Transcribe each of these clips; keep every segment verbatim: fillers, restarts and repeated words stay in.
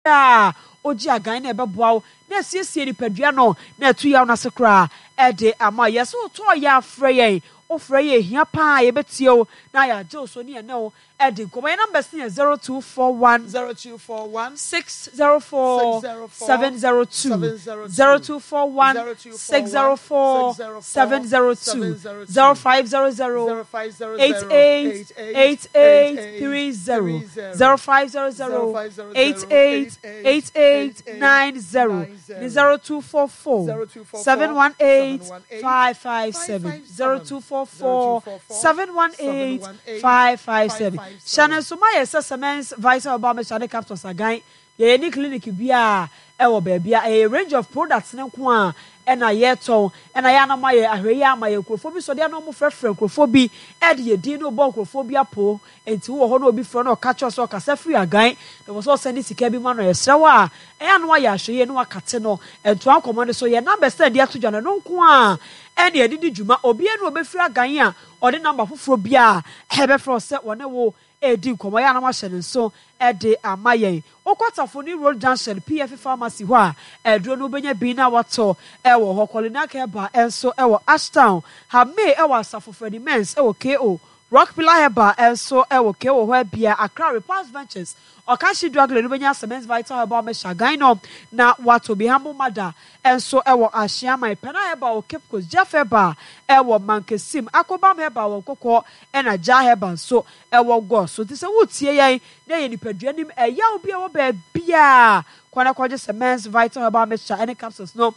A ogye agan na ɛbɛboa wo na asiesie nipadua no na ɛto yaw no ase koraa ɛde ama. Yɛ sɛ wotɔɔ yɛ afrɛ yɛn, wofrɛ yɛ ehia paa, yɛbɛtie wo na yɛagye wo so ne yɛne wo ɛde nkɔmmɔ. Yɛn numbers no yɛ zero two four one zero two four one six zero four seven zero two, zero two four one six zero four seven zero two, zero five zero zero eight eight eight eight three zero, zero five zero zero eight eight eight eight nine zero ne zero two four four seven one eight five five seven, zero two four four seven one eight five five seven. Hyɛ no nso ma yɛ sɛ Semens Vital Herbal Mixture ne capsules agan yɛyɛ ne clinic bi a ɛwɔ baabi a ɛyɛ range of products ne nko a ɛna yɛtɔn, ɛna yɛ anam ayɛ ahwɛ yi ama yɛ nkurɔfoɔ bi sɔde anam frɛfrɛ nkurɔfoɔ bi ɛde yɛ din no bɔ nkurɔfoɔ bi apo. Nti wowɔ hɔ na obi frɛ no, ɔka kyerɛ sɛ ɔkasa firi agan na wɔ sɛ ɔsɛn sika bi ma no, ɛsrɛ wɔ a ɛyɛ ano ayɛ ahwɛ yie na wakate no ntoa nkɔmɔ no so. Yɛ numbers na ɛde ato dwa no, ɛno nko a ɛne yɛde di dwuma. Obiara na obɛfiri agan a ɔde number foforɔ bi a ɛbɛfrɛ sɛ wɔne wo ɛredi nkɔmɔ, yɛ anam ahyɛ ne nso ɛde ama yɛn. Wokɔ Tafoni Road Junction P F Pharmacy hɔ a, ɛduro no wobɛnya bi na watɔ ɛwɔ hɔ. Kɔlinak Herbal ɛnso ɛwɔ Ashtown, Hame ɛwɔ Asafo, Freddy Mens ɛwɔ ko Rock Pillar Herbal ɛnso ɛwɔ ko hɔ abia Accra Repas Ventures Ɔkanhye Drug Lane, wobɛnya Semens Vital Herbal Mixture gan no na watɔ bi. Humble Mother ɛnso ɛwɔ Ahyeaman, Pɛna Herbal wɔ Cape Coast, Jeff Herbal ɛwɔ Mankesim, Akobam Herbal wɔ Nkɔkɔ, ɛna Gya Herbal nso ɛwɔ Gɔ so. Nti sɛ wotie yɛn na yɛ nipadua nim ɛyaw bi a ɛwɔ baabiaa, kwan akɔgye Semens Vital Herbal Mixture ɛne capsules no,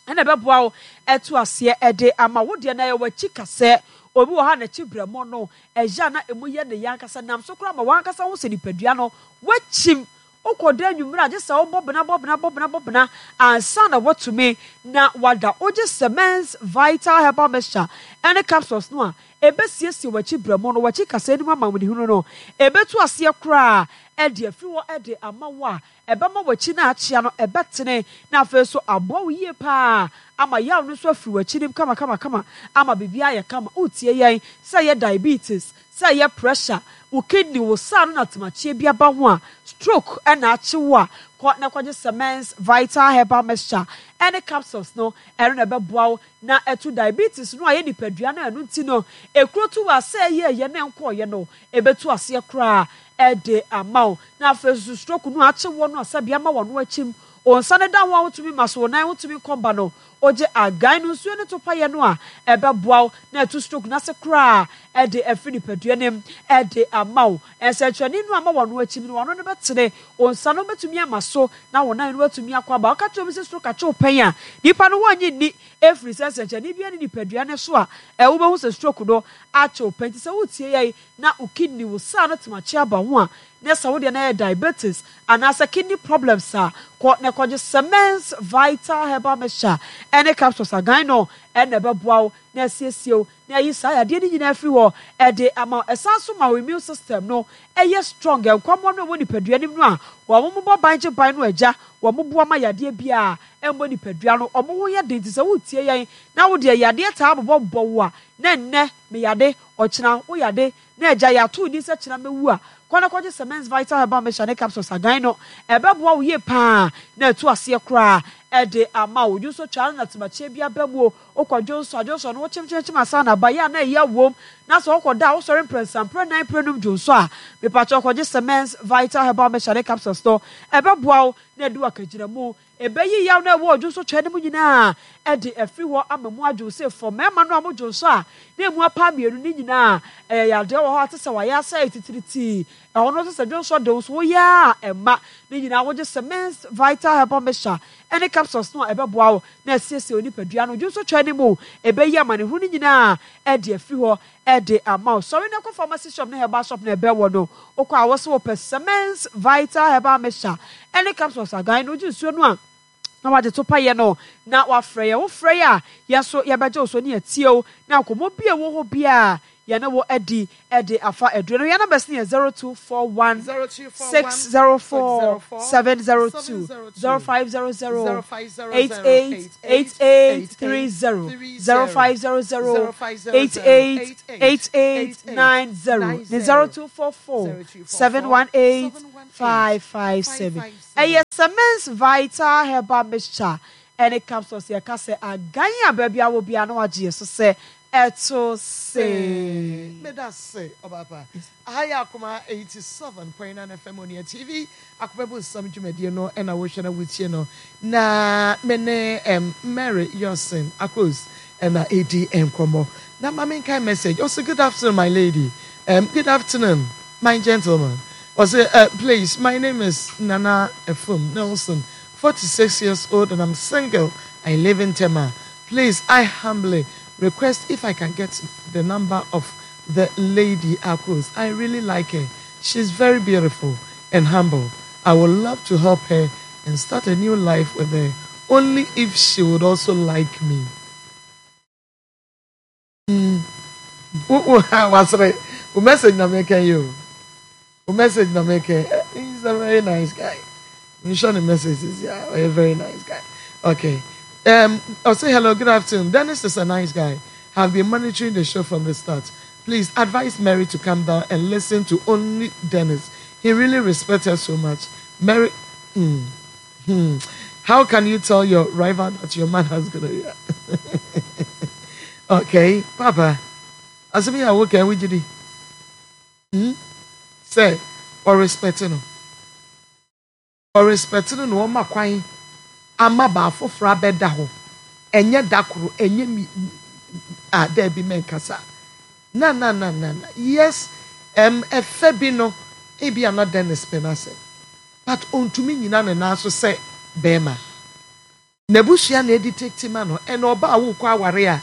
ɛna ɛbɛboa wo ɛto aseɛ ɛde ama wo deɛ. Na ɛyɛ w'akyi kasɛ obi wɔ ha n'akyi brɛmɔ no ɛyɛ a na emu yɛ ne yɛ ankasa nam so koraa ma wankasa ho sɛ nipadua no wakyim. Wokɔda anwummerɛ a, gye sɛ wobɔ bena, bɔ bena, bɔ bena, bɔ bena ansa na watumi na wada. Wogye Semens Vital Herbal Mixture ɛne capsules no a, ɛbɛsiesie w'akyi brɛmɔ no, w'akyi kasa anim ama wɔn no, ɛbɛtu aseɛ koraa ɛde afiri hɔ ɛde ama wo a ɛbɛma w'akyi no akyea no ɛbɛtene, na afei nso aboa wo yie paa ama yaw no nso afiri w'akyi nim kama kama kama ama biribiara yɛ kama. Wotie yɛn sɛ ɛyɛ diabetes, sɛ ɛyɛ pressure, wo kidney, wo saa no na temakyie bi aba ho a, stroke ɛna akye wo a, kɔ na kɔgye Semens Vital Herbal Mixture ɛne capsules no. Ɛno na ɛbɛboa wo na ɛto diabetes no a yɛ nipadua no ɛno nti no ekuro tu wɔ asɛ ɛyɛ ɛyɛ na ɛnkɔɔyɛ no, ɛbɛtu aseɛ koraa ɛde ama wo. Na afei nso stroke no akye wɔ no asɛbi ama wɔn no akyim wɔn nsa no da ho a wotumi ma so, wɔn nan wotumi kɔba no, ogye agan no nsuo ne to payɛ no a, ɛbɛboa wo na ɛto stroke n'ase koraa ɛde afiri nipadua nim ɛde ama wo. Nsɛnkyerɛnne no ama wɔn no akyim no, wɔn no bɛtene, wɔn nsa no bɛtumi ama so na wɔn nan no atumi akɔ aba. Ɔka kyerɛ obi sɛ stroke akye wo pɛn a, nipa no wɔnye nni, efiri sɛ nsɛnkyerɛnne bi ne nipadua no so a ɛwo bɛhu sɛ stroke no akye wo pɛn. Nti sɛ wotie yɛn na wo kidney, wo saa no temakye aba ho a, na sɛ wodeɛ no yɛ diabetes anaasɛ kidney problems a, kɔ na kɔgye Semens Vital Herbal Mixture ɛne capsules agan no, ɛna ɛbɛboa wo na asiesie wo na ayi saa yadeɛ no nyinaa firi hɔ ɛde ama. Ɛsan so ma wo immune system no ɛyɛ strong. Nkwamoa no a ɛwɔ nipadua no mu no a wɔn mo bɔ ban gye ban no agya wɔn mo boa ma yadeɛ biara ɛmmɔ nipadua no, wɔn ho yɛ den. Nti sɛ wotie yɛn na wodeɛ yadeɛ taa bobɔ bɔ wo a, na nnɛ meyade, ɔkyena wo yade, na agya yɛato ni sɛ kyena mɛwu a, kɔ na kɔgye Semens Vital Herbal Mixture ne capsules agan no, ɛbɛboa wo yie paa na ɛtu aseɛ koraa ɛde ama wo. Dwonso twaa no na temakyie bi aba mu o, wokɔ dwonso a, dwonso no wokyemkyemkyem asa na aba yɛ a na ɛyɛ wom, na sɛ wokɔ da a, wosɔre mprɛnsa, mprɛ nan, mprɛ num dwonso a, mepakyɛ kɔgye Semens Vital Herbal Mixture ne capsules no, ɛbɛboa wo na ɛde wakagyina mu, ɛbɛyi yaw na ɛwɔ dwonso twaa no mu nyinaa ɛde afiri hɔ ama mu adwo sɛ fɔ. Mmarima no a mo dwonso a na emu apa mmienu ne nyinaa ɛyɛ yadeɛ wɔ hɔ a te sɛ wayɛ asɛ titiritii ɛhɔ no, sɛ dwonso de wo so woyɛ a ɛma ne nyinaa, wogye Semens Vital Herbal Mixture ɛne capsules no a, ɛbɛboa wo na asiesie wo nipadua no. Dwonso twaa no mu ɛbɛyi amanehunu no nyinaa ɛde afiri hɔ ɛde ama wo. Sɔre na kɔ pharmacy shop ne herbal shop na ɛbɛwɔ no. Wokɔ a, wɔsɛ wɔpɛ Semens Vital Herbal Mixture ɛne capsules agan no, wogye nsuo no a na wagye to payɛ no na wafrɛ yɛ. Wofrɛ yɛ a, yɛn nso yɛbɛgye wo so ne yɛtie wo na nkɔmmɔ bi a ɛwɔ hɔ biara. Yɛne wo adi ɛde afa aduro no. Yɛn numbers no yɛ zero two four one six zero four seven zero two, zero five zero zero eight eight eight eight three zero, zero five zero zero eight eight eight eight nine zero ne zero two four four seven one eight five five seven. Ɛyɛ Semens Vital Herbal Mixture ɛne capsules. Yɛka sɛ agan a baabi a wɔ bia na wagye yɛ so sɛ ɛto se. Meda se ɔbaapa. Aha yɛ Akoma eighty-seven point nine F M, Onua T V, Akoma bu nsɛm dwumadie no ɛna wohwɛ na wotie no, na me ne um, Mary Yosin Akos ɛna ɛdi nkɔmmɔ. Na ma menkae message. Ɔsɛ, "Good afternoon, my lady. um, good afternoon, my gentleman." Ɔsɛ, uh, please my name is Nana Efum Nelson, forty-six years old, and I'm single. I live in Tema. Please, I humbly request if I can get the number of the lady Akos. I really like her. She's very beautiful and humble. I would love to help her and start a new life with her, only if she would also like me." Mm. Wasere, o message na make you. O message na make. He's a very nice guy. You show the messages, yeah, a very nice guy. Okay. Um, I'll say hello, good afternoon. Dennis is a nice guy. Have been monitoring the show from the start. Please advise Mary to come down and listen to only Dennis. He really respects her so much. Mary, mm, hmm. How can you tell your rival that your man has gonorrhea? Okay, Papa. Asemi a wo kan wigidi. Hmm? Say, or respect no. Or respect no na ɔma kwan ama baa foforɔ abɛda hɔ. Ɛnyɛ da koro, ɛnyɛ mi a dɛbi mɛnkasa. Na na na na na. Yes, um, ɛfɛ bi no, ebi ana Dennis pɛ n'asɛm. But ontumi nyina ne nan so sɛ bɛrima. N'abusua na edi tete ma no, ɛna ɔbaa a wokɔ aware a,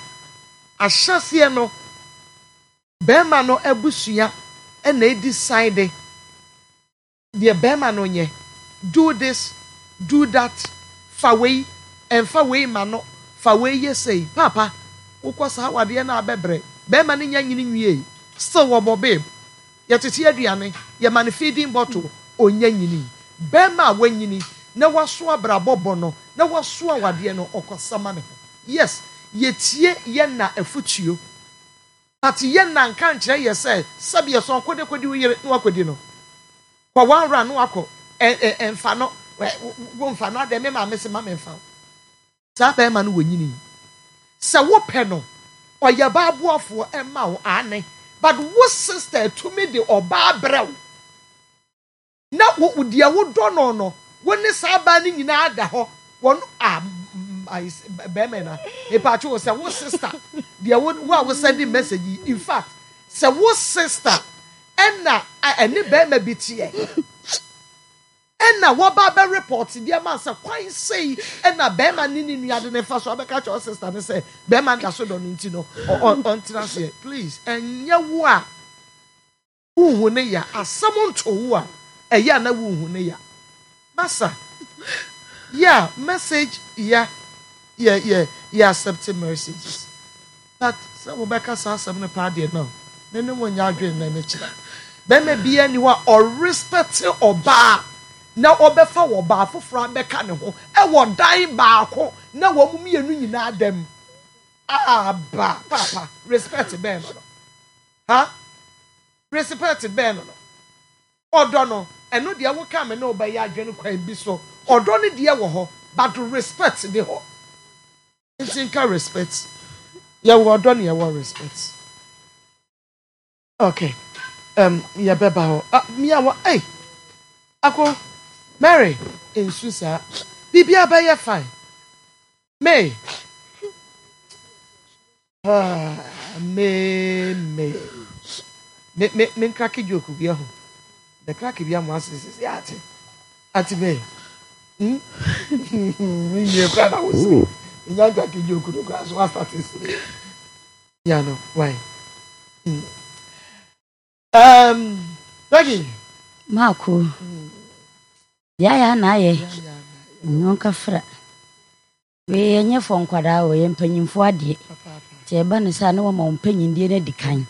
ahyɛseɛ no, bɛrima no abusua ɛna edi side deɛ bɛrima no nyɛ. Do this, do that, fa wei, ɛnfa wei ma no, fa wei yɛ sei. Papa, wokɔ saa awadeɛ no abɛbrɛ. Bɛrima no nya nyini nwie. Still wɔbɔ babe. Yɛtete aduane, yɛma no feeding bottle, onya nyini. Bɛrima a wanyini na waso abrabɔ bɔ no, na waso awadeɛ no, ɔkɔsama ne ho. Yes, yɛtie yɛn na afutuo. But yɛn na nka nkyerɛ yɛ sɛ sɛbi yɛ sɔn kode kodi wo yere na wakɔdi no. Kɔ one round na wakɔ ɛ ɛ ɛnfa no ɛ wo nfa no adɛ me maame sɛ ma me nfa wo. Saa bɛrima no wɔ nyini. Sɛ wopɛ no, ɔyɛ baaboafoɔ ɛma wo ane. But wo sister tumi de ɔbaa brɛ wo. Na wo wo- deɛ wodɔ no no, wo ne saa baa no nyinaa da hɔ. Wɔn a mm, ayi s- bɛrima na mepatwo wo sɛ wo sister deɛ wo wo a wo send message yi, in fact, sɛ wo sister ɛna a- ɛne bɛrima bi teɛ ɛna wɔba bɛ report deɛ ma sɛ kwan sei ɛna bɛrima ne ne nua de ne fa so abɛka kyerɛ wo sister ne sɛ bɛrima da so dɔ no nti no ɔ- ɔ- ɔntena aseɛ. Please, ɛnyɛ wo a wohu ne ya, asɛm nto wo a ɛyɛ a na wohu ne ya. Masa, yeah, message, yeah yeah yeah yeah accepting messages, but sɛ wobɛka saa asɛm no paa deɛ, no me ne wo nyɛ adwene na ne kyerɛ bɛrima biara ni hɔ a ɔrespect ɔbaa na ɔbɛfa wɔ ɔbaa foforɔ abɛka ne ho ɛwɔ dan baako na wɔn mu mmienu nyinaa dɛm aba. Papa, respect bɛn no no ha? Respect bɛn no no? Ɔdɔ no, ɛno deɛ woka me ne ɔbɛyɛ adwene kwan bi so. Ɔdɔ no deɛ wɔ hɔ, but respect de hɔ nti nka respect. Yɛwɔ ɔdɔ ne yɛwɔ respect. Okay, um, yɛbɛba hɔ. Ah, mia wɔ ei ako Mary nsu saa biribiara bɛyɛ fine. May, ah, may may me me me ncrack joke bi ɛho the crack bi amu ase sisi ate ate may hmm me nwie kora na wosi nya ncrack joke no kora so wasate sere ya no why hmm. um Becky. Maako deɛ ayɛ a na ayɛ nnwonka fra wei ɛnyɛ fɔ nkwadaa o, yɛ mpanyimfoɔ adeɛ. Nti ɛba ne saa na wɔma wo mpanyindie no adi kan.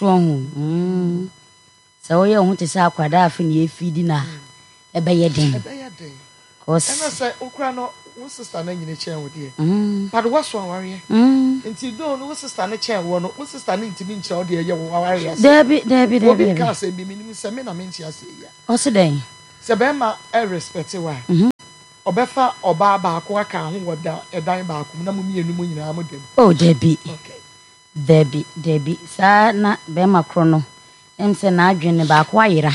So ɔho mm sɛ woyɛ wo ho te sɛ akwadaa afe ne yɛfidi no a ɛbɛyɛ den. Ɛbɛyɛ den. Cause Ɛna sɛ wokura no, wo sister no anyini kyɛn wo deɛ, mm but woaso awareɛ, mm nti do no wo sister no kyɛn wɔ no, wo sister no ntumi nkyerɛ wo deɛ ɛyɛ wo awareɛ ase. Dabi, dabi, dabi. Obi dabi ka asɛm bi, menim sɛ me na mente aseɛ yi a, Ɔse dɛn? Sɛ bɛrima ɛrespect wo a, Mhm. ɔbɛfa ɔbaa baako aka ho wɔ da ɛdan baako mu na mo mmienu mu nyinaa mo dam? Oh, dabi. Okay. Dabi, dabi, saa na bɛrima korɔ no ɛm sɛ n'adwene no baako ayera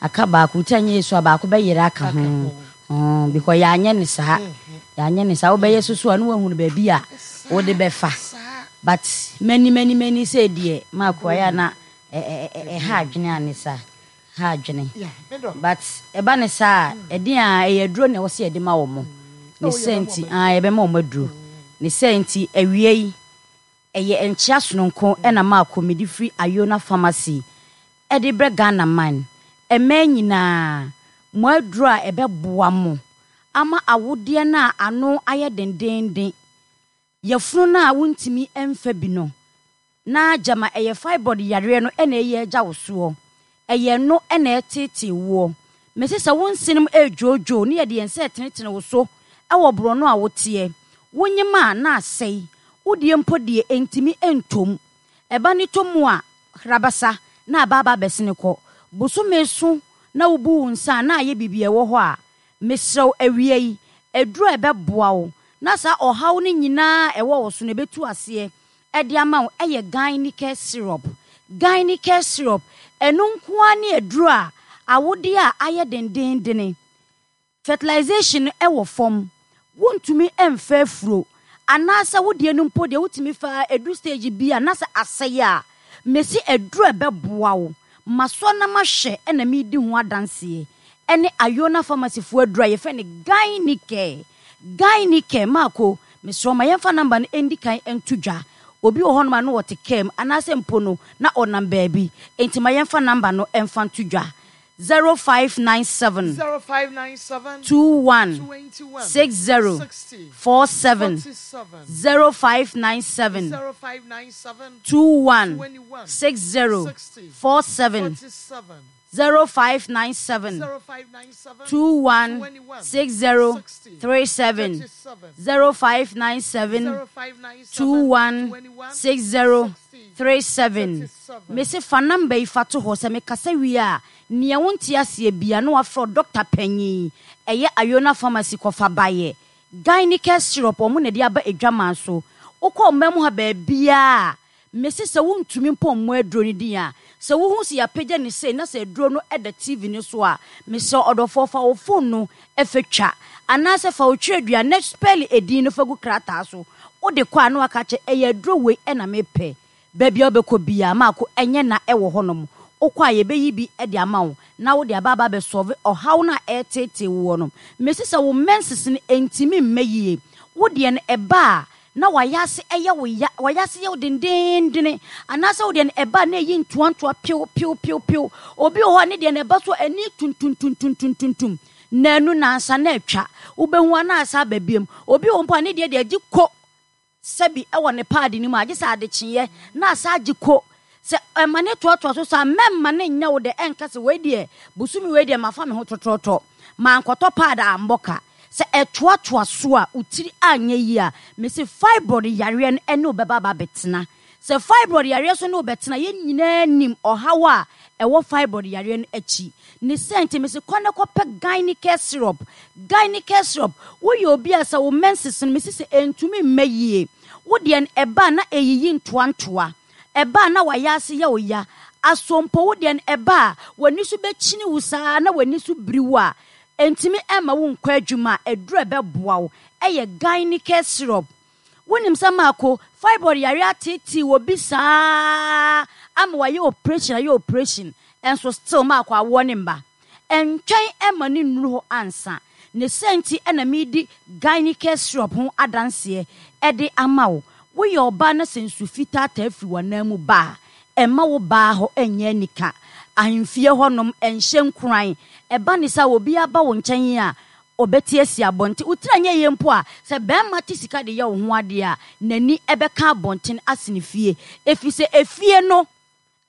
aka baako ti anyɛ yesu a baako bɛyera aka Aka ho. ho. Mm, because yɛanyɛ ne saa, yɛanyɛ ne saa, wobɛyɛ soso a ne woahunu baabi a wode bɛfa. Saa. But many many many sɛ deɛ maako ayɛ a na ɛ- ɛ- ɛ- ɛha adwene a ne saa ha adwene. Yeah, me dɔ. But ɛba ne saa a, ɛden a ɛyɛ aduro na ɛwɔ sɛ yɛde ma wɔ mo ne Oh, sɛ yɛbɛma nti wɔn. Ah, yɛbɛma wɔn aduro ne sɛ nti awie yi ɛyɛ nkyea sononko ɛna maako mede firi Ayona Pharmacy ɛde brɛ Ghana man ɛmɛn nyinaa mo aduro a ɛbɛboa mo ama awodeɛ no a ano ayɛ dendenden, yɛfunu no a wontumi mfa bi no na gyama ɛyɛ fibroid yareɛ no ɛna ɛyɛ agya wo soɔ, ɛyɛ no ɛna ɛtetee woɔ. Mesi sɛ wo nsenom ɛredwoodwoo ne yɛde yɛn nsa ɛtenetene wo so ɛwɔ borɔno a woteɛ wonyim a na asɛe wodeɛ mpo deɛ ɛntumi ɛntom ɛba ne tɔ mu a hrabasa na aba aba abɛsene kɔ bosome so na wobu wo nsa a na ayɛ biribi a ɛwɔ hɔ a mesrɛw awia yi aduro a ɛbɛboa wo na saa ɔhaw no nyinaa ɛwɔ wo so no ɛbɛtu aseɛ ɛde ama wo ɛyɛ Gynicare syrup. Gynicare syrup ɛno nko ara ne aduro a awodeɛ a ayɛ dendendene, fertilization no ɛwɔ fam, wontumi ɛmfa afuro anaasɛ wodeɛ no mpo deɛ wotumi fa edu stage bi a na sɛ asɛe a, mesi aduro a ɛbɛboa wo masoa na mahwɛ ɛna medi ho adanseɛ ɛne Ayona Pharmacyfoɔ aduro a yɛfrɛ no Gynicare. Gynicare maako mesrɛ ma yɛmfa number no ɛndi kan nto dwa. Obi wɔ hɔnom a na wɔte kaa mu anaasɛ mpo no na ɔnam baabi, enti ma yɛmfa number no ɛmfa nto dwa: zero five nine seven zero five nine seven two one twenty-one six zero sixty four seven. forty-seven. zero five nine seven zero five nine seven two one twenty-one six zero sixty four seven. forty-seven. zero five nine seven zero five nine seven two one twenty-one six zero sixty three seven. thirty-seven. zero five nine seven zero five nine seven two one twenty-one six zero sixty three seven. thirty-seven. Mese fa number yi fa to hɔ sɛ mekasa wie a nea wonte aseɛ bia na wafrɛ dɔkta panyin ɛyɛ Ayona Pharmacy kɔfa bayɛ Gynicare syrup ɔmo na de aba adwaman so. Wokɔ ɔman mu ha baabiaa, mese sɛ wontumi mpo mmɔ aduro no din a sɛ wohu sɛ yɛapagya ne sei na sɛ aduro no ɛda T V no so a, mesɛ ɔdɔfoɔ fa wo phone no ɛfɛ twa anaasɛ fa wo twerɛdua na spell edin no fa gu krataa so. Wode kɔ a na waka kyɛ ɛyɛ aduro wei ɛna mepɛ. Baabi a wobɛkɔ biaa maako ɛnyɛ na ɛwɔ hɔnom wokɔ a yɛbɛyi bi de ama wo na wode aba aba abɛsɔve ɔhaw no a ɛretetee woɔ no. Mesi sɛ wo menses no ɛntumi mma yie, wo deɛ no ɛba a na wayɛ ase ɛyɛ wo ya, wayɛ ase yɛ wo dendendene anaasɛ wo deɛ no ɛba a na ɛyi ntoantoa piw piw piw piw. Obi wɔ hɔ a ne deɛ no ɛba so ani tuntumtuntumtuntum naanu nansa na atwa wobɛhu a na asa aba biom. Obi wɔ mpo a ne deɛ deɛ agye ko sɛbi ɛwɔ ne paadi no mu a agye sɛ adekyeeɛ na asa agye ko sɛ ɛma ne toatoa so saa. Mɛmma ne nyɛ wo dɛ ɛnka sɛ wei deɛ bosome wei deɛ mafa me ho tɔtɔtɔ mankɔtɔ paadi ambɔ ka. Sɛ ɛtoatoa so a wotiri anyɛ yie a, mesi fibroid yareɛ no ɛne wo bɛba aba abɛtena. Sɛ fibroid yareɛ so ne wo bɛtena, yɛn nyinaa nim ɔhaw a ɛwɔ fibroid yareɛ no akyi ne sɛ nti mesi kɔ ne kɔpɛ Gynicare syrup. Gynicare syrup, woyɛ obi a sɛ wo menses no mesi sɛ ɛntumi mma yie, wo deɛ no ɛba na ɛyiyi ntoantoa, ɛba na wayɛ ase yɛ wo ya asompo, wo deɛ no ɛba a w'ani so bɛkyini wo saa na w'ani so biri wo a ɛntumi ɛma wo nkɔ adwuma a, ɛduru ɛbɛboa wo ɛyɛ Gynicare syrup. Wonim sɛ maako fibroid yare atetee wɔ bi saa ama wayɛ operation, ayɛ operation ɛnso still maako awoɔ ne mba ɛntwɛn ɛma ne nnuru hɔ ansa ne sɛ nti ɛna medi Gynicare syrup ho adanseɛ ɛde ama wo. Woyɛ ɔbaa na sɛ nsu fitaa taa firi w'anan mu ba a ɛma wo baa hɔ ɛnyɛ anika ahemfie hɔnom ɛnhyɛ nkuran ɛba ne sɛ obi aba wo nkyɛn a ɔbɛte asi abɔnten wotiri anyɛ yie mpo a sɛ bɛrima te sika de yɛ wo ho adeɛ a n'ani ɛbɛka abɔnten asene fie ɛfiri sɛ efie no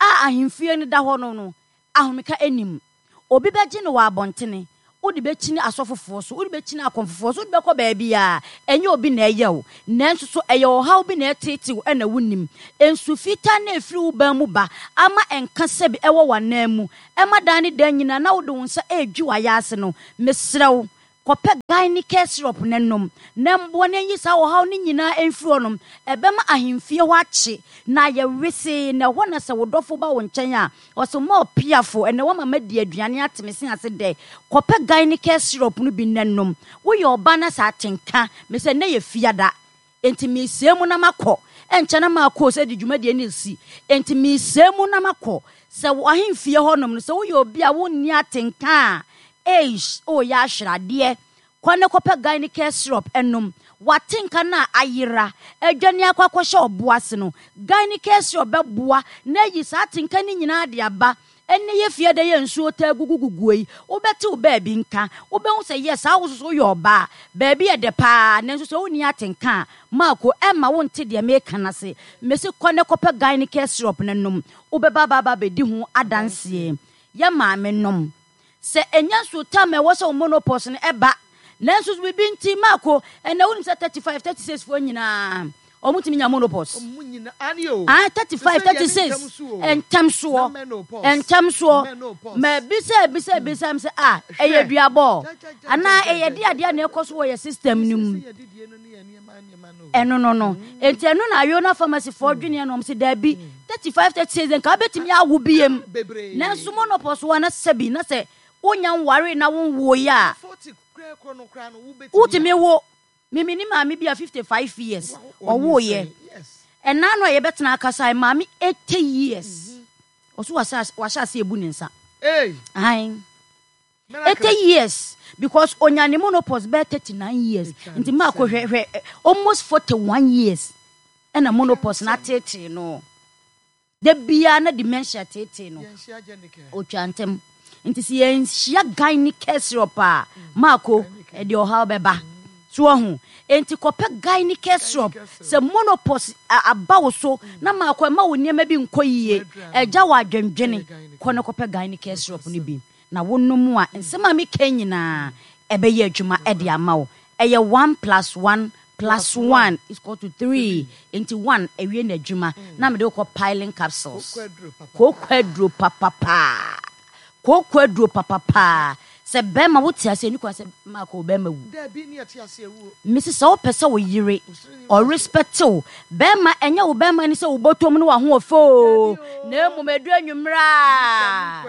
A ahemfie no da hɔ no no, ahomeka anim. Obi bɛgye no wɔ abɔntene, wode bɛkyini asɔfofoɔ so, wode bɛkyini akɔmfofoɔ so, wode bɛkɔ baabi a ɛnyɛ obi na ɛyɛ wo, nanso so ɛyɛ ɔhaw bi na ɛteetew ɛna wonim. Nsu fitaa na ɛfiri wo ban mu ba ama ɛnka sɛbi ɛwɔ w'anan mu, ɛma dan ne dan nyinaa na wode wo nsa ɛredwi w'ayɛ no. Mesrɛ wo, kɔpɛ Gynecare syrup ne nom na mboa no nyi saa ɔhaw no nyinaa ɛmfiri hɔnom. Ɛbɛma ahemfie hɔ akye na ayɛ wesee, na ɛhɔ na sɛ wo dɔfo ba wo nkyɛn a, ɔsɛ ma ɔpiafo ɛnɛ wama madi aduane ateme se ase dɛ. Kɔpɛ Gynecare syrup no bi ne nom. Woyɛ ɔba na sɛ atenka me sɛ nnɛ yɛ fiada, enti meesɛe mu na makɔ, ɛnkyɛ na maakɔ sɛ de dwumadie no si, enti meesɛe mu na makɔ. Sɛ w'ahemfie hɔnom no, sɛ woyɛ obi a wonni atenka a, eish, woyɛ ahweradeɛ, kɔ ne kɔpɛ Gynecare syrup ɛnom. Watenka no a ayera adwane akɔ akɔhyɛ ɔbo ase no, Gynecare syrup bɛboa na ayi saa atenka no nyinaa de aba. Ɛne yɛ fie da yɛ nsuo taa guguguguo yi, wobɛte wo baabi nka, wobɛhu sɛ yɛ saa wo soso woyɛ ɔbaa, baabi yɛ dɛ paa, nanso sɛ wonni atenka a, maako ɛma wonte deɛ meka no ase. Mesi kɔ ne kɔpɛ Gynecare syrup no nom, wobɛba baaba bɛdi ho adanseɛ. Yɛ maame nom, sɛ ɛnya nsuo tam a ɛwɔ sɛ wo menopause no ɛba, nanso biribi nti maako ɛnɛ wonim sɛ thirty-five, thirty-six foɔ nyinaa ɔmo tumi nya menopause. Ah, thirty-five, thirty-six, ntɛm soɔ, ntɛm soɔ. Ma ebisa ebisa ebisa m sɛ ah, ɛyɛ duabɔ anaa ɛyɛ de adeɛ na ɛkɔ so wɔ yɛ system no mu? Ɛno no no nti ɛno na Ayona Pharmacy foɔ dweneɛ na ɔmo sɛ daabi, thirty-five, thirty-six nka wobɛtumi awo biem, nanso menopause wɔ na sɛbi na sɛ wonya nware na wonwoeɛ a, wotumi wo. Mimi ni maame bi a fifty-five years ɔwoeɛ. Ɛna no a yɛbɛtena akasa, maame eighty years, ɔso wahyɛ ase ebu ne nsa. Ahan, eighty years, because onya ne menopause bɛyɛ thirty-nine years, nti maako hwɛ hwɛ, almost forty-one years ɛna menopause na atetee no da biara na dementia tetee no, otwa ntɛm. Nti sɛ yɛnhyia Gynecare syrup a, maako ɛde ɔhaw bɛba so ɔho. Nti kɔpɛ Gynecare syrup. Sɛ menopause aba wo so na maako ɛma wo nneɛma bi nkɔ yie, ɛgya wɔ adwendwene, kɔ ne kɔpɛ Gynecare syrup no bi na wonom a, nsɛm a meka nyinaa ɛbɛyɛ adwuma ɛde ama wo. Ɛyɛ one plus one plus one is equal to three, nti one ɛwie n'adwuma na mede wokɔ piling capsules, kooko aduro papapaa, kooko aduro papapaa. Sɛ bɛrima wote ase ani kwan sɛ maako bɛrima wu, mesi sɛ wopɛ sɛ wo yere ɔrespect wo bɛrima, ɛnyɛ wo bɛrima ni sɛ wobɔtɔm no wahoɔfɛ o, na mmom ɛduru anwummerɛ a,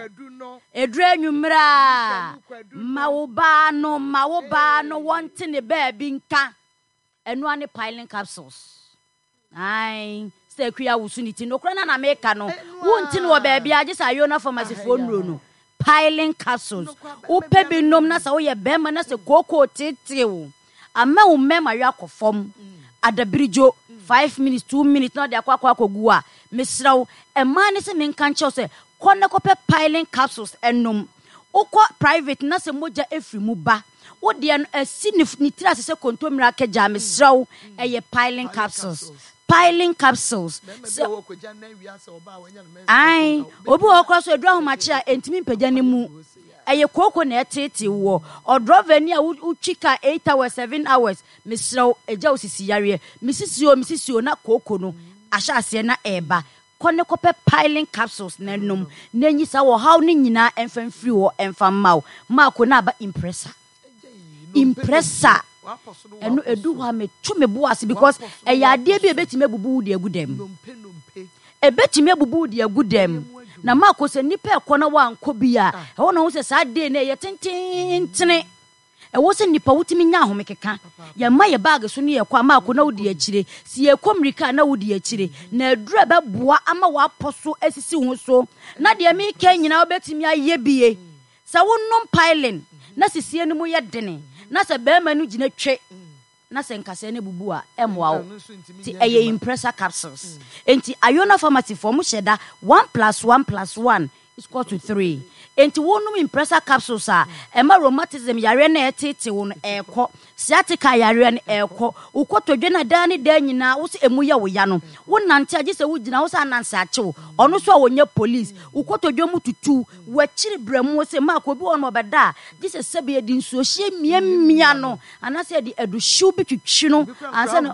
ɛduru anwummerɛ a, ma wo baa no, ma wo baa no wɔnte ne baabi nka. Ɛno ane piling capsules. Ai, sɛ akua wo so ne ti nokora na na meka no, wonti no wɔ baabi a gye sɛ Ayona Pharmacy foɔ nnuro no. Piling capsules, wopɛ bi nom na sɛ woyɛ bɛrima na sɛ kookoo tetew ama wo mmarima yɛ akɔ fam adabirigyo five minutes, two minutes na ɔde akɔ akɔ akɔgu a, mesrɛ wo, ɛmaa ne sɛ menka nkyɛw sɛ kɔ ne kɔpɛ piling capsules ɛnom. Wokɔ private na sɛ mogya efiri mu ba, wodeɛ no asi ne ne tiri ase sɛ kontommire akagya, mesrɛ wo, ɛyɛ piling capsules, piling capsules. Sɛ ai obi wɔ hɔ koraa so aduru ahomakye a ɛntumi mpagya ne mu, ɛyɛ kooko na ɛtete wɔ ɔdrɔva ni a wotwi car eight hours, seven hours, mesrɛ wo, ɛgya wo sisi yareɛ, mesisi o, mesisi o, na kooko no ahyɛ aseɛ na ɛɛba. Kɔ ne kɔpɛ piling capsules na ɛnom na enyi saa ɔhaw no nyinaa ɛmfa mfiri hɔ ɛmfa mma wo. Maako na aba impressa, impressa ɛno edu hɔ a meto me bo ase because ɛyɛ adeɛ bi a ebetumi abubu wo de agu dɛm, ebetumi abubu wo de agu dɛm. Na maako sɛ nipa ɛkɔ na wankɔ bi a, ɛwɔ na ho sɛ saa day no ɛyɛ tententene. Ɛwɔ sɛ nipa wotumi nya ahome keka. Yɛma yɛ baage so ne yɛkɔ a, maako na wodi akyire. Si yɛkɔ mmirika a na wodi akyire, na aduru a ɛbɛboa ama wapɔ so asisi wo so na deɛ meka nyinaa wobɛtumi ayɛ bie. Sɛ wonom piling na sisie no mu yɛ dene na sɛ bɛrima no gyina twe na sɛ nkasɛɛ no bubu a, ɛmmoa wo. Nti ɛyɛ impressa capsules. Nti Ayona Pharmacy foɔ mo hyɛ da one plus one plus one is equal to three. Enti wonom Impressa capsules a, ɛma rheumatism yareɛ no a ɛreteetee wo no ɛrekɔ, sciatica yareɛ no ɛrekɔ, wo kotodwe no a daa ne daa nyinaa wo sɛ ɛmu yɛ wo ya no, wonante a gye sɛ wogyina hɔ sɛ ananse akye wo, ɔno nso a ɔnyɛ police, wo kotodwe mu tutu, w'akyiri berɛmo sɛ Mark, obi wɔ hɔ nom ɔbɛda a gye sɛ sɛbe yɛde nsuohyeɛ miamia no anaasɛ yɛde aduhyew bi twitwi no ansa na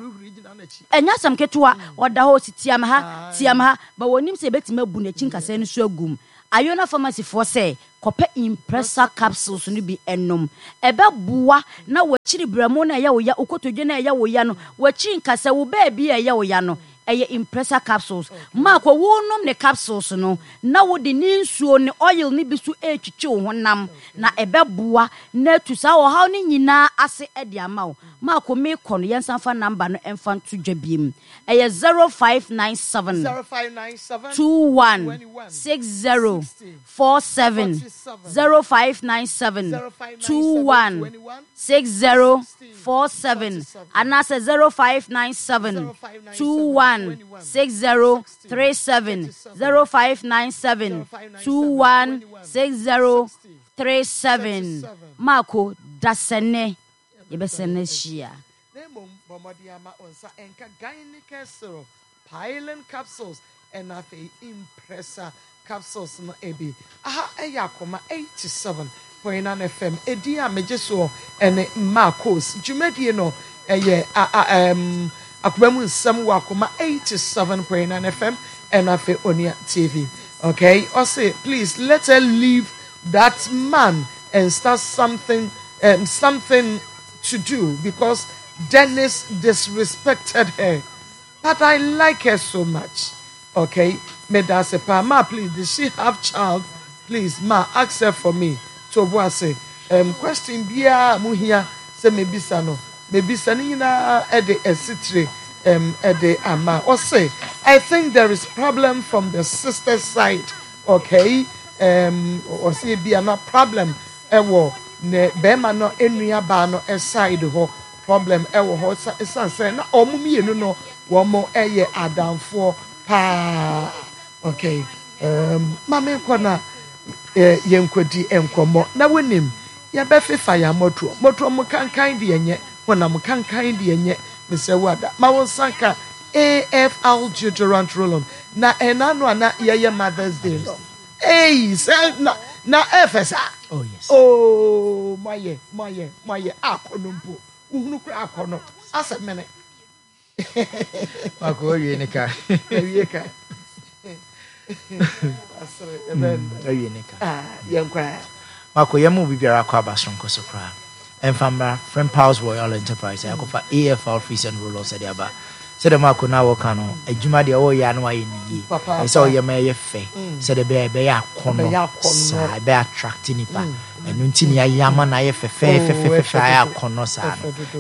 ɛnyɛ asɛm ketewa, ɔda hɔ ɔsi tia me ha, tia me ha, but wɔnnim sɛ yɛbɛtumi abu n'akyi nkasɛɛ no so agu mu. Ayona Pharmacyfoɔ sɛ kɔpɛ Impressa capsules no bi nom. Ɛbɛboa na w'akyiri berɛmo no a ɛyɛ wo ya, wo kotodwe no a ɛyɛ wo ya no, w'akyiri nkasɛɛ, wo baabi a ɛyɛ wo ya no, ɛyɛ Impressa capsules. Marco, wonom ne capsules no na wode ne nsuo, ne oil no bi nso retwitwi wo honam na ɛbɛboa na atu saa ɔhaw no nyinaa ase de ama wo. Marco, merekɔ no, yɛnsan mfa number no mfa nto dwa biom. Ɛyɛ zero five nine seven two one six zero four seven, zero five nine seven two one six zero four seven anaasɛ zero five nine seven two one six zero three seven, zero five nine seven two one six zero three seven. Marco, dasɛnɛ yɛbɛsɛn ahyia. Na mmom bɔ mmɔden ara ma wo nsa nka Gynaecare Syrup, Pylon Capsules, ɛna afei Impressa Capsules no bi. Aha yɛ Akoma eighty seven point nine F M. Edin a megye soɔ ne Marcos. Dwumadie no yɛ a, a, ɛm, Akoma mu nsɛm wɔ Akoma eighty seven point nine F M ɛna afei Onua T V. Okay, ɔse please let her leave that man and start something, um, something to do because Dennis disrespected her, but I like her so much. Okay, medase pa ma, please, did she have child? Please ma, ask her for me. Tobuase, um, question bia muhia se mebisa no, mebisa ni nyina ede esitire um ede ama. Ɔse I think there is problem from the sister's side. Okay, um ɔse bia na problem ewo ne bema no enua ba no side ho problem ewo ho san se na omo mienu no wo mo eye adamfo pa. Okay, um mame ko na yenkodi enkomo na wonim ye be fefa ya moto moto mo kankan de enye honam kankan de enye me wada ma won sanka A F L deodorant roll-on na ena no ana ye Mother's Day no. Hey, say na na F S A. Oh yes. Oh, my my my akono mpo. Uhunu kra akono. Asa mene. Mako wie ne ka. Wie ka. Asere eben. Wie ne ka. Ah, yenkwa. Mako yemu bibiara akwa abason koso kra. Emfamra Frimpals Royal Enterprise akofa A F L Free and Roll-on said aba. Said the Mako na woka no adwuma de o ya no aye ni. E say o ye ma ye fe. Said the be be ya akono. Sa be attract nipa. Enu nti ni aye ama na ye fe fe fe fe fe aye akono sa.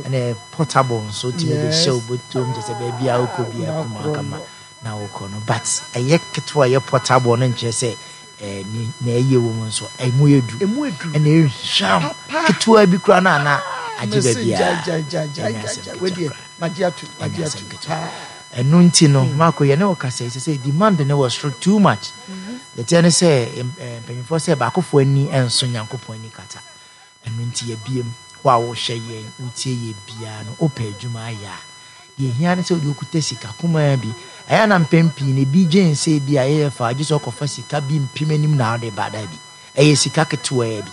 And portable so ti me de show botom je say be bia okɔ bia kuma kama na wokɔ no. But eye ketewa ye portable no nche say eh ni na eye wo mu nso emu edu ene ehwam ketewa bi kura na na agye ba bia ja ja ja ja we die magiatu magiatu enu nti no Marco ye ne wo kasa say demand ne was too much. The ten say mpanyimfo say baakofo ani enso Nyankopɔn ani kata enu nti ye biem wo a wo hwe ye ntie ye bia no opa adwuma aya ye hia ne say odi okuta sika kuma bi aya na mpempi ne bi dwen say bi aye fa agye so kofa sika bi mpim anim na ode bada bi eye sika ketewa bi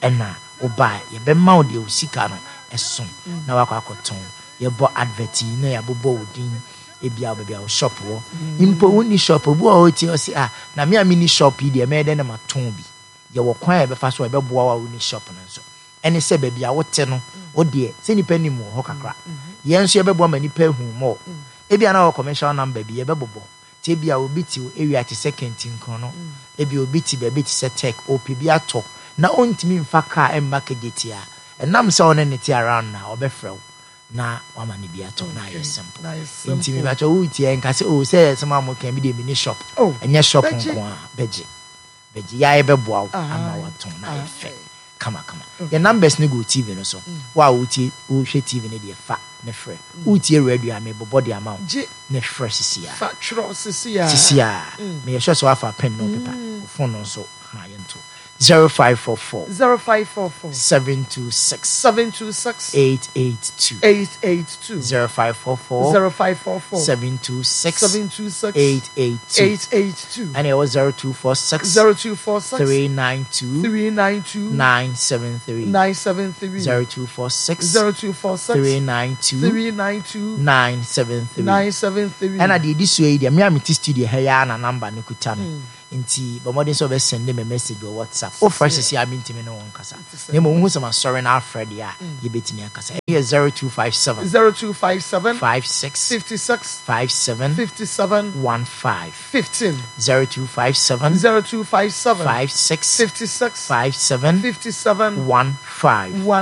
ena oba ye be ma ode sika no esom na wakɔ akɔton ye bɔ advert na ye bobɔ odin e bia oba bia shop wo impo woni shop obu a oti o si ah na me a mini shop yi de me de na maton bi ye wo kwan ye be fa so e be boa wa woni shop no nso ene se ba bia wote no wo de se nipa nim wo ho kakra ye nso ye be boa ma nipa hu mo e bia na wo commercial number bi ye be bobo te bia obi ti area te second nkron no e bia obi ti ba bi ti se tech op bi ato na ontimi mfa car emma kejetia enam se one ne ti around na obefrew na wama ne bia to na ayɛ simple nti me ba cho wuti en ka se o se se ma mo kan bi de mini shop enye shop nko a beje beje ya e beboa ama waton na ayɛ fɛ kama kama your numbers ne go T V no so wa wuti wo hwe T V ne de fa ne frɛ wuti radio am bo body amount ne frɛ sisi a fa tro sisi a sisi a me sure so afa pen no paper phone no so ha yento Zero five four four. Zero five four four. Seven two six. Seven two six. Eight eight two. Eight eight two. Zero five four four. Zero five four four. Seven two six. Seven two six. Eight eight two. Eight eight two. And it was zero two four six. Zero two four six. Three nine two. Three nine two. Nine seven three. Nine seven three. Zero two four six. Zero two four six. Three nine two. Three nine two. Nine seven three. Nine seven three. And I did this way. The Miami studio here na number no kuta me. Nti bɔ mmɔden sɛ wobɛsɛnde me message wɔ WhatsApp. Wofrɛ sisi a, mentimi ne wo nkasa, na mmom wohu sɛ masɔre no afrɛ deɛ a, yɛbɛtumi akasa. Ɛyɛ zero two five seven. Zero two five seven. five six. Fifty six. five seven. Fifty seven. fifteen. Fifteen. zero two five seven. Zero two five seven. five six. Fifty six. five seven. Fifty seven. fifteen. One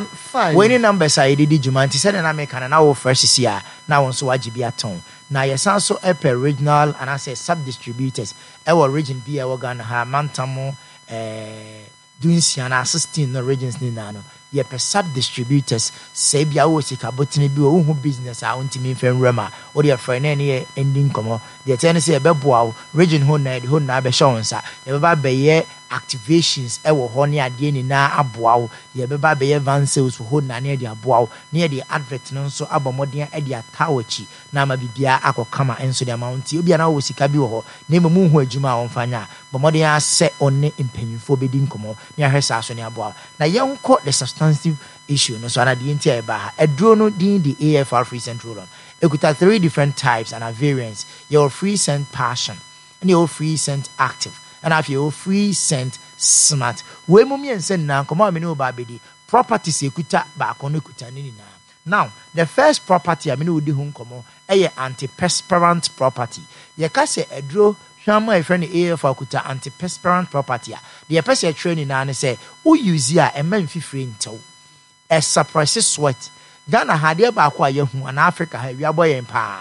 five. Wei ne numbers a yɛde di dwuma, nti sɛdeɛ na meka no, na wofrɛ sisi a, na wo nso wagye bi atɔn. Na yɛsan so ɛpɛ regional anaasɛ sub distributors ɛwɔ region bi a ɛwɔ Ghana ha, mantam ɛɛ dunsia na sixteen no, regions ne nyinaa no, yɛpɛ sub distributors. Sɛ ebi a wowɔ sika botene bi wɔ wohu business a wontumi mfa nwura mu a, wode ɛfrɛ na ɛne yɛ ndi nkɔmmɔ. Deɛ ɛteɛ ne sɛ yɛbɛboa wo region hɔ na yɛde hɔ nyinaa bɛhyɛ wo nsa. Yɛbɛba abɛyɛ activations ɛwɔ hɔ ne adeɛ nyinaa aboa wo. Yɛbɛba abɛyɛ van sales wɔ hɔ nyinaa ne yɛde aboa wo, ne yɛde advert no nso abɔ mmɔden de ata w'akyi na ama biribiara akɔ kama nso de ama wo. Nti obia na wowɔ sika bi wɔ hɔ na mmom wohu adwuma a wɔmfa nyɛ a, bɔ mmɔden ara sɛ ɔne mpanyimfoɔ bɛdi nkɔmmɔ ne ahwɛ saa so ne aboa wo. Na yɛnkɔ the substantive issue no so ana deɛ nti a ɛba ha. Aduro no din de A F R Free Scent Roll-On. Ɛkuta three different types and variants. Yɛwɔ Free Scent Passion, ɛne yɛwɔ Free Scent Active, ɛna afei yɛwɔ Free Scent Smart. Wei mu mmiɛnsa nyinaa, nkɔmmɔ a me ne wo ba abɛdi, properties ekuta baako no kuta ne nyinaa. Now, the first property a me ne wo di ho nkɔmmɔ ɛyɛ antiperspirant property. Yɛka sɛ aduro hwam a yɛfrɛ no A F R kuta antiperspirant property a, deɛ yɛpɛ sɛ yɛtwerɛ nyinaa ne sɛ wo use a, ɛma mfifire ntɛw, ɛsuppress sweat. Ghana ha, adeɛ baako a yɛhu anaa Africa ha, awia bɔ yɛn paa,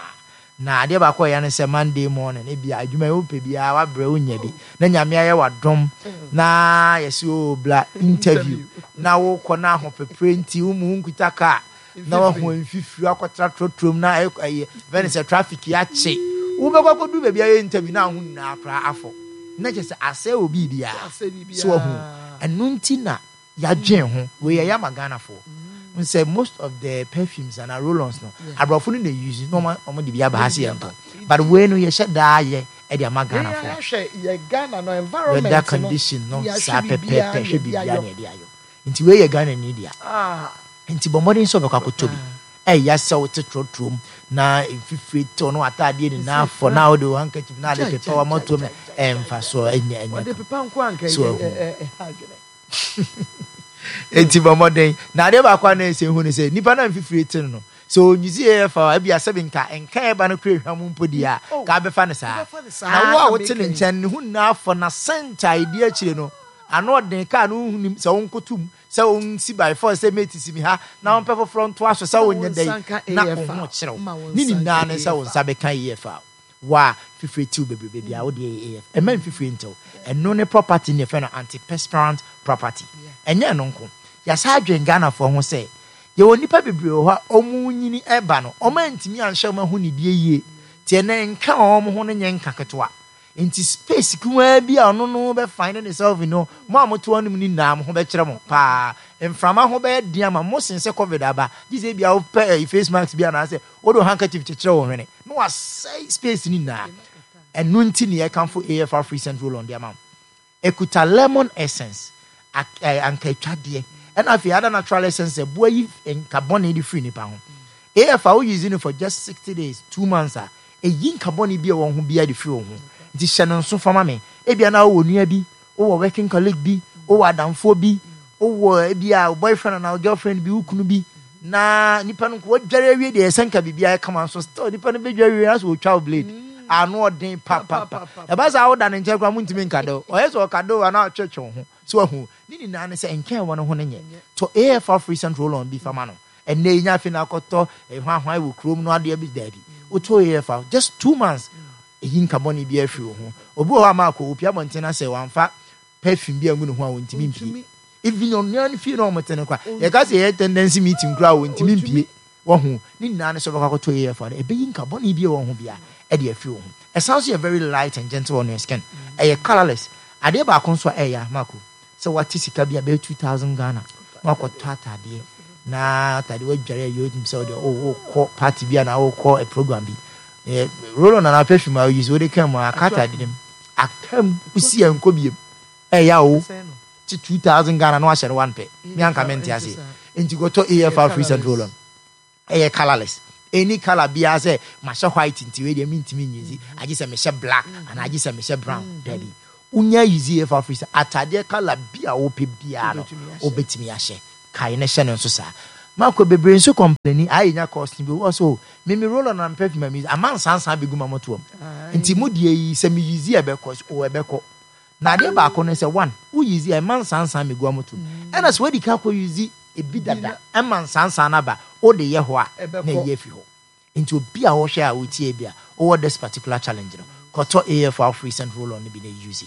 na adeɛ baako a yɛ ne sɛ Monday morning ebi a adwuma yi wopɛ biara wabrɛ wonya bi na Nyame ayɛ wadom na yɛsɛ o bla interview na wokɔ na ahopepere nti wo mu nkuta kaa na wahu mfifiri akɔtena trɔtrɔm na ɛyɛ ɛyɛ fɛn sɛ traffic akye wobɛkɔ akɔdu baabi ayɛ interview na aho nyinaa koraa afɔ na kyerɛ sɛ asɛe wɔ biribiara. Asɛ biribiara. So wahu, ɛno nti na yɛadwen ho. Wei yɛyɛ ama Ghanafoɔ n sɛ most of the perfumes and roll-ons no, aborɔfo no na use na ɔmo ɔmo de bi aba ha sɛ yɛn tɔ, but wei no yɛhyɛ daa yɛ ɛde ama Ghanafoɔ. Yɛhwɛ yɛ Ghana no environment weather no, condition no yɛahwɛ saa biribiara pɛpɛɛpɛ na hwɛ yɛde biribiara ayɔ. na yɛde ayɔ. Nti wei yɛ Ghana ni dea. Ah, nti bɔ mmɔden sɛ ɔbɛkɔ akɔtɔ bi. Ɛyɛ sɛ wote trɔtrɔm na mfifire tew no, ataadeɛ nyinaa fɔ na wode wo handkerchief na ade Gyae, pepa gyae, wamatom gyae, gyae, ɛmfa so ɛnyɛ ɛnyɛ wɔde pepa nko anka So ɛyɛ ahu. ɛ- ɛ- ɛha adwene. Enti bɔ mmɔden na adeɛ baako a na ɛsɛ hu ne sɛ nipa na mfifire te no no sɛ onyusi yɛ fa ebi asɛbi nka nka ɛba no kura ehwam mpo deɛ a Oh, ka abɛfa ne saa. Wobɛfa ne saa. Na wo a wote ne na nkyɛn ne ho nyinaa fɔ na sɛnta a ɛdi akyire no ano ɔden kaa no wohunim sɛ wonkotom sɛ wonsi by force sɛ mate si mi ha na wompɛ foforɔ ntoa so sɛ Na wo wonyɛ nsa dɛn nka na A F R. wo ho kyerɛw Ma wo ne nsa nyinaa nka ne sɛ wo A F R. nsa bɛka A F R wa fifire tiw bebrebe bia wode yɛ A F ɛma mfifire ntɛw. Ɛno ne property ne yɛfrɛ no antiperspirant property. Ɛnyɛ ɛno nko, yɛsa adwen Ghanafoɔ ho sɛ yɛwɔ nnipa bebree wɔ hɔ a ɔmo nyini ɛba no, ɔmo antumi anhyɛ ɔmo aho nidie yie tiɛ ne nka ɔmo ho no nyɛ nka ketewa. Nti space kumaa bi a ɔno no bɛfind ne self no, mo a mote hɔ nom no nyinaa mo ho bɛkyerɛ mo paa, mframa ho bɛyɛ den ama mo sen sɛ COVID aba gye sɛ ebia wopɛ ɛyi face mask bi anaasɛ wode wo handkerchief kyekyerɛ wo hwene na wasɛe space no nyinaa. Ɛno nti ne yɛkamfo A F R Free Scent Roll on de ama wo. Ekuta lemon essence, ak- eh, ankatwadeɛ, ɛna afei ada natural essence ɛboa yi nka bɔne de firi nipa ho. A F R wo use no for just sixty days, two months a, ɛyi nka bɔne bi a wɔn ho biara de firi wɔn ho. Nti hyɛ no nso fama me. Ebia na wowɔ nua bi, wowɔ working colleague bi, wowɔ adamfoɔ bi, wowɔ ebia wo boyfriend anaa wo girlfriend bi, wo kunu bi, na nipa no nko wadware awie deɛ ɛsɛ nka biribiara kama nso, still nipa no bɛdware awie na so wɔtwa wo blade ano ɔden papapa. Ɛba saa woda ne nkyɛn koraa montumi nka do, ɔyɛ sɛ ɔka do anaa ɔtwetwe wo ho so wahu ne nyinaa ne sɛ nkyɛn wɔ no ho no nyɛ. Tɔ A F R Free Scent Roll on bi fama no ɛnɛ yi. Nya afei na akɔtɔ hwanhwan wɔ kurom no adeɛ bi, daabi. Wotɔ A F R just two months, ɛyi nka bɔne bi afiri wo ho. Obi wɔ hɔ a ma akɔ opia abɔnten na sɛ wamfa perfume bi angu ne ho a, wɔntumi mpie. Even ɔnua no fie na ɔmo te no kora, yɛka sɛ yɛyɛ tendency meeting koraa a, wɔntumi mpie. Wɔho ne nyinaa ne sɛ ɔbɛkɔ akɔtɔ A F R no, ɛbɛyi nka bɔne bi a wɔ ho bia ɛde afiri wo ho. Ɛsan so yɛ very light and gentle on your skin. Ɛyɛ colourless. Adeɛ baako nso a ɛyɛ amako Sɛ wate sika bi a bɛyɛ two thousand Ghana na wakɔtɔ atadeɛ, na atadeɛ wadware a yɛ sɛ wode wokɔ party bi anaa wokɔ a program bi, roll on anaa perfume a woyi so wode ka mu a, aka atadeɛ no mu, aka mu, wosi yɛ nkɔ biem, ɛyɛ o ti two thousand Ghana na wahyɛ no one pɛ. Mi anka mente ase. Nti kɔtɔ A F R free scent roll on. Ɛyɛ colourless, any colour biara. Sɛ mahyɛ white nti wei deɛ mentumi nyi, agye sɛ mehyɛ black anaa agye sɛ mehyɛ brown. Dabi, wonya use A F R free scent, atadeɛ colour bi a wopɛ biara no wobɛtumi ahyɛ. Kae ne hyɛ no nso saa. Maakɔ bebree nso complain ayɛ nya cost bi wɔ so. Mimi roll on and perfume mi ama nsansan bɛgu ma mɔtoam, nti mu deɛ yi sɛ mi use ɛbɛkɔ o, ɛbɛkɔ. Na adeɛ baako no sɛ one, wo use ɛma nsansan mi gu amotom, ɛna sɛ wadi ka kɔ use ebi dada ɛma nsansan naba, o de yɛ hɔ a na ɛyɛ afi hɔ. Nti obi a wɔhwɛ a wotie bi a wɔwɔ this particular challenge no, kɔtɔ A F R free scent roll on no bi na use.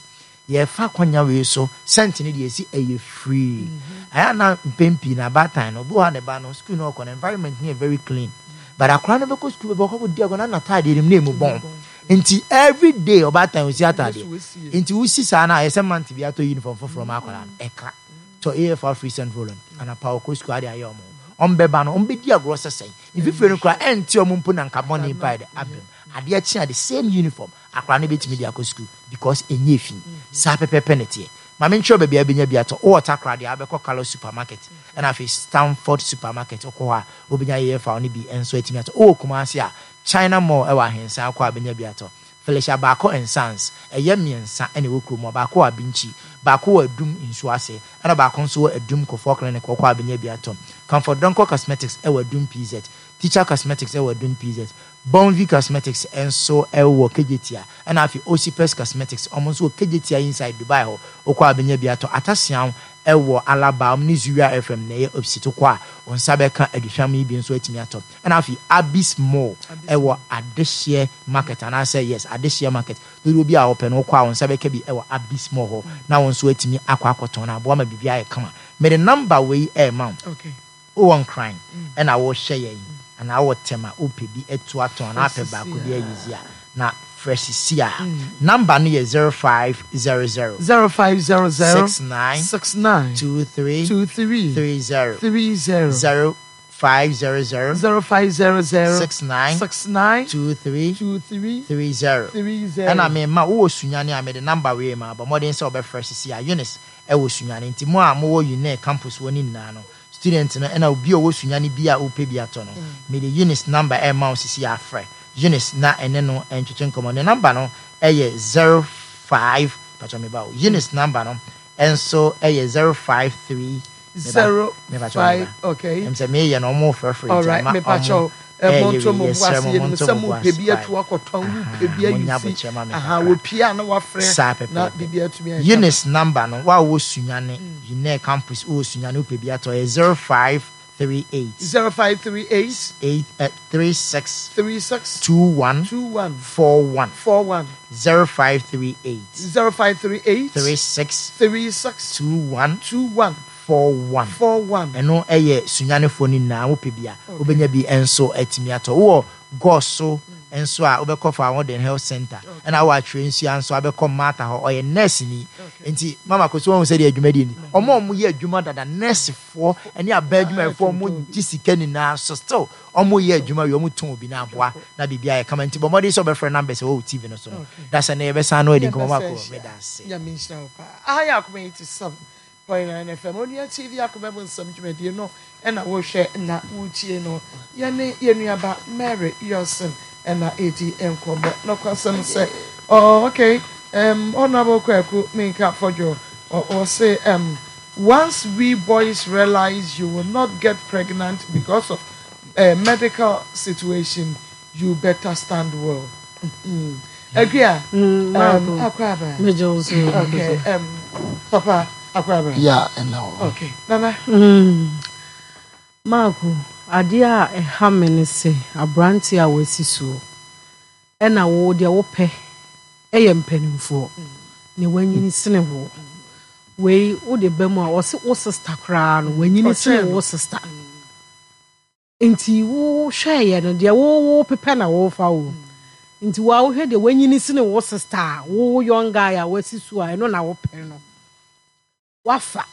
Yɛfa kwanya wei so, scent no deɛ esi ɛyɛ free. Ɛyɛ na mpɛn pii na abaatan no obi wɔ ha, ne ba no school no ɔkɔ no, environment no yɛ very clean, but akora no bɛkɔ school bɛbɛ ɔkɔ di agorɔ na n'ataadeɛ no mu na emu bɔn, nti every day ɔbaatan osi ataadeɛ. Nti wosi saa na ayɛ sɛ month bi atɔ uniform foforɔ ma akora no. Ɛka tɔ A F R free scent roll on anapa ɔkɔ school ade ayɛ ɔmo, ɔmbɛba no ɔmbɛdi agorɔ sɛsɛn mfifire no koraa ɛnte ɔmo mpo na nka bɔne mpa yɛ abɛm. Adeɛ kye a, the same uniform akora no bɛtumi de akɔ school because ɛnyɛ fi. Saa pɛpɛpɛ ne teɛ. Maame nkyerɛ baabi a bɛnya bi atɔ. Wowɔ Takra deɛ, abɛkɔ Carlos Supermarket, ɛna afei Stanford Supermarket. Wokɔ hɔ a wobɛnya A F R no bi nso atumi atɔ. Wowɔ Kumase a, China Mall ɛwɔ Ahensan, kɔ a bɛnya bi atɔ. Felicia Baako and Sons ɛyɛ mmiɛnsa ɛna ɛwɔ kurom. Baako wɔ Abinkyi, baako wɔ Adum nsuo ase, ɛna baako nso wɔ Adum Kofoɔ Clinic. Wɔkɔ a bɛnya bi atɔ. Comfort Donko Cosmetics ɛwɔ Adum P Z, Teacher Cosmetics ɛwɔ Adum P Z, Bonvi Cosmetics nso ɛwɔ Kejetia, ɛna afei Osipes Cosmetics, ɔmo nso wɔ Kejetia inside Dubai hɔ. Wokɔ a bɛnya bi atɔ. Atasian ɛwɔ Alaba, ɔmo ne Zuria F M na ɛyɛ opposite. Kɔ a wɔn nsa bɛka aduhwam yi bi nso atumi atɔ. Ɛna afei Abis Mall ɛwɔ Adehyeɛ Market, anaasɛ yes, Adehyeɛ Market. Dodoɔ bi a wɔpɛ no, wokɔ a wɔn nsa bɛka bi ɛwɔ Abis Mall hɔ na wɔn nso atumi akɔ akɔtɔn na aboa ma biribi ayɛ kama. Mɛde number wei ɛɛma wo. Wowɔ Nkran ɛna wɔhyɛ yɛn anaa wɔ Tɛm a wopɛ bi atu atɔn anaa apɛ baako bi ayizi a, na frɛ sisi a number no yɛ zero five zero zero zero five zero zero six nine six nine two three two three three zero three zero. zero five zero zero zero five zero zero six nine six nine two three two three three zero. three zero. Ɛna mema wowɔ Sunyane a, mede number wei ma. Bɔ mmɔden sɛ wobɛfrɛ sisi a. Eunice ɛwɔ Sunyane, nti mo a mowɔ UNE campus wɔ ne nyinaa no, student no, ɛna obi a ɔwɔ Sunyane bi a wopɛ bi atɔ no, mede Eunice number ɛma wo sisi a. Afrɛ Eunice na ɛne no ɛntwetwe nkɔmmɔ. Ne number no ɛyɛ zero five, patwa meba o, Eunice number no ɛnso ɛyɛ zero five three zero five, okay. Ɛm sɛ meyɛ no, ɔmo frɛfrɛ. All right, mepakyɛw, monto mo bo ase. Yɛnim sɛ mopɛ bi atu akɔtɔn, wopɛ bi ayusi aha, wɔpie a na wafrɛ saa na pɛpɛɛpɛ. Biribi atumi ayɛ. Eunice number no, wa wɔ Sunyane, UNE campus, wɔ Sunyane, wopɛ bi atɔ, yɛ zero five three eight zero five three eight eight uh, three six three six two one two one four one. four one. zero five three eight zero five three eight three six three six two one two one four one. four one. Ɛno ɛyɛ Sunyanefoɔ no nyinaa. Wopɛ bi a, wobɛnya bi nso atumi atɔ. Wowɔ Gɔso nso a, wobɛkɔ fa Ahoɔden Health Center, ɛna wowɔ Atwerɛ Nsua nso, abɛkɔ Mata hɔ, ɔyɛ nurse ni. Nti mama kò so wɔn sɛ deɛ adwumadie ni, ɔmo a ɔmo yɛ adwuma dada, nursefoɔ ɛne abɛn adwumayɛfoɔ, ɔmo gye sika nyinaa so, still ɔmo yɛ adwuma wi, ɔmo tɔn obi na aboa na biribi ayɛ kama. Nti bɔ mmɔden sɛ ɔbɛfrɛ numbers ɛwɔ wo T V no so no dasa ne yɛbɛsan no adi nkɔmɔ. Mako, meda ase. Nyame nhyira wo paa. Aha yɛ Akoma eighty seven point nine F M, Onua T V, Akoma mu nsɛm dwumadie no ɛna wohwɛ na wotie no. Yɛne yɛn nuaba Mary Yɔsen ɛna ɛdi nkɔmmɔ. Nɔkwasɛm sɛ, oh, okay, um, Honorable Kwaku Minka Fɔdwo ɔse, um, once we boys realize you will not get pregnant because of a medical situation, you better stand well. Agua, um, Akwaba. Megye wo so. Okay, um, Papa Akwaba. Yeah, ɛna hɔ. Okay, Nana. Mm. Maako, adeɛ a ɛha me ne sɛ aberante a wasi soɔ ɛna wo deɛ wopɛ ɛyɛ mpanimfoɔ na wanyini sene wo. Wei wode ba mu a, ɔse wo sister koraa no wanyini sene wo sister, nti wohwɛeɛ no deɛ wo wo pepɛ na wofa wo. Nti wo a wohwɛ deɛ wanyini sene wo sister a, wo young guy a wasi so a, ɛno na wopɛ no. Wafa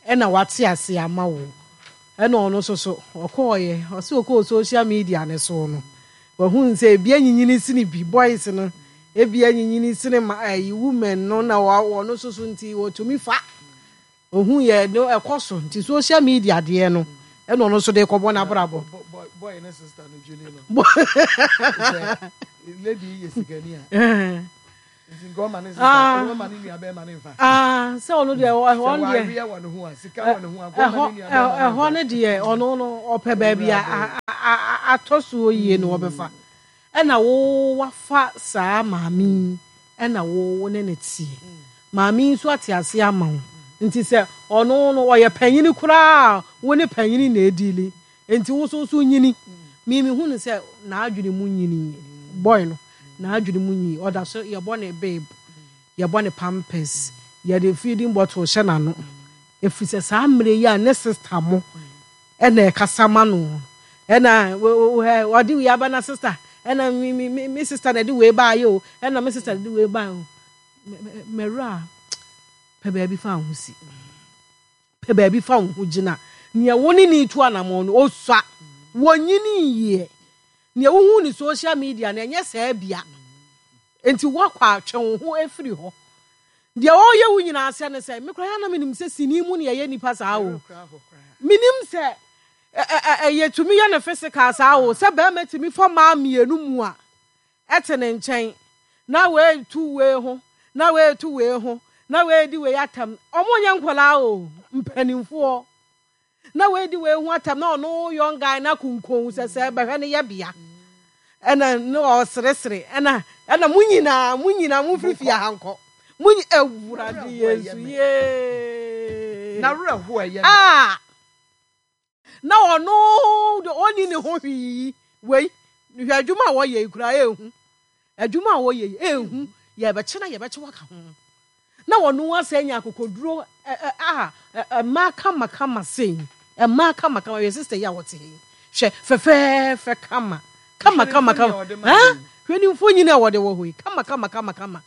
ɛna wate ase ama wo. Ɛna ɔno nso so ɔkɔɔyɛ ɔsɛ ɔkɔɔ social media ne so no, wahu sɛ ebi anyinyini sini bi boys no, ebi anyinyini sini ma ɛyi women no, na ɔno nso so nti wɔtumi fa ohun yɛ no ɛkɔ so. Nti social media deɛ no, ɛna ɔno nso de kɔbɔ n'abrabɔ. Boy ne sister no Julie no, lady yi yɛ sikani a, nti nka ɔma ne sister, ɔma ne nua bɛrima ne nfa. Aa, sɛ ɔno deɛ, ɔno deɛ sɛ wɔ ne ho a, sika wɔ ne ho a, nka ɔma ne nua bɛrima ne nfa. Ɛhɔ ne deɛ, ɔno no ɔpɛ baabi a atɔ soɔ yie na ɔbɛfa. Ɛna wo wafa saa maame yi, ɛna wo wo ne ne teɛ. Maame yi nso ate ase ama wo. Nti sɛ ɔno no ɔyɛ panyini koraa, wo ne panyini na edili. Nti wo nso nso nyini. Mimi hu ne sɛ n'adwene mu nyini, boy no n'adwene mu nyini. Ɔda so yɛbɔ ne babe, yɛbɔ ne Pampers, yɛde feeding bottle hyɛ n'ano, efiri sɛ saa mmerɛ yi a ne sister mo ɛna ɛkasa ma no, ɛna ɔde wei aba na sister, ɛna mi mi mi mi sister na ɛde wei ba ayɛ o, ɛna mi sister na ɛde wei ba ayɛ o. Mɛwura, pɛ baabi fa ho si, pɛ baabi fa ho gyina. Nea wo ne ne tu anamɔ no, osua wɔnyini yie. Nea wohu ne social media no, ɛnyɛ saa bia. Nti wakɔ atwe wo ho afiri hɔ. Deɛ ɔyɛ wo nyinaa sɛ ne sɛ mekora yɛ na menim sɛ sini mu ne yɛyɛ nipa saa o. Menim sɛ ɛyɛ tumi yɛ ne physical saa o, sɛ bɛrima tumi fa maa mmienu mu a ɛte ne nkyɛn na wei tu wei ho, na wei tu wei ho, na wei di wei atam. Ɔmo nyɛ nkɔlaa o, mpanimfoɔ, na wei di wei ho atam, na ɔno young guy na kunkun sɛ sɛ bɛhwɛ ne yɛ bea, ɛna ne ɔseresere, ɛna ɛna mo nyinaa mo nyinaa mo firi fie ha nkɔ mo nyi. Ewurade Yesu yee. Na werɛ ho ɛyɛ. Aa, na ɔno de ɔni ne ho hwii. Wei hwɛ, adwuma a wɔyɛ yi koraa ehu, adwuma a wɔyɛ yi ehu. Yɛbɛkye na yɛbɛkye waka ho, na wɔn asɛ nya akokoduro. ɛ ɛ a ɛ mmaa kamakama sei, mmaa kamakama. Yɛ sister yi a wɔte yi, hwɛ, fɛfɛɛfɛ, kama kama kama kama. Hɛn hwɛ ne mfonyin a wɔde wɔ hɔ yi, kama kama kama kama,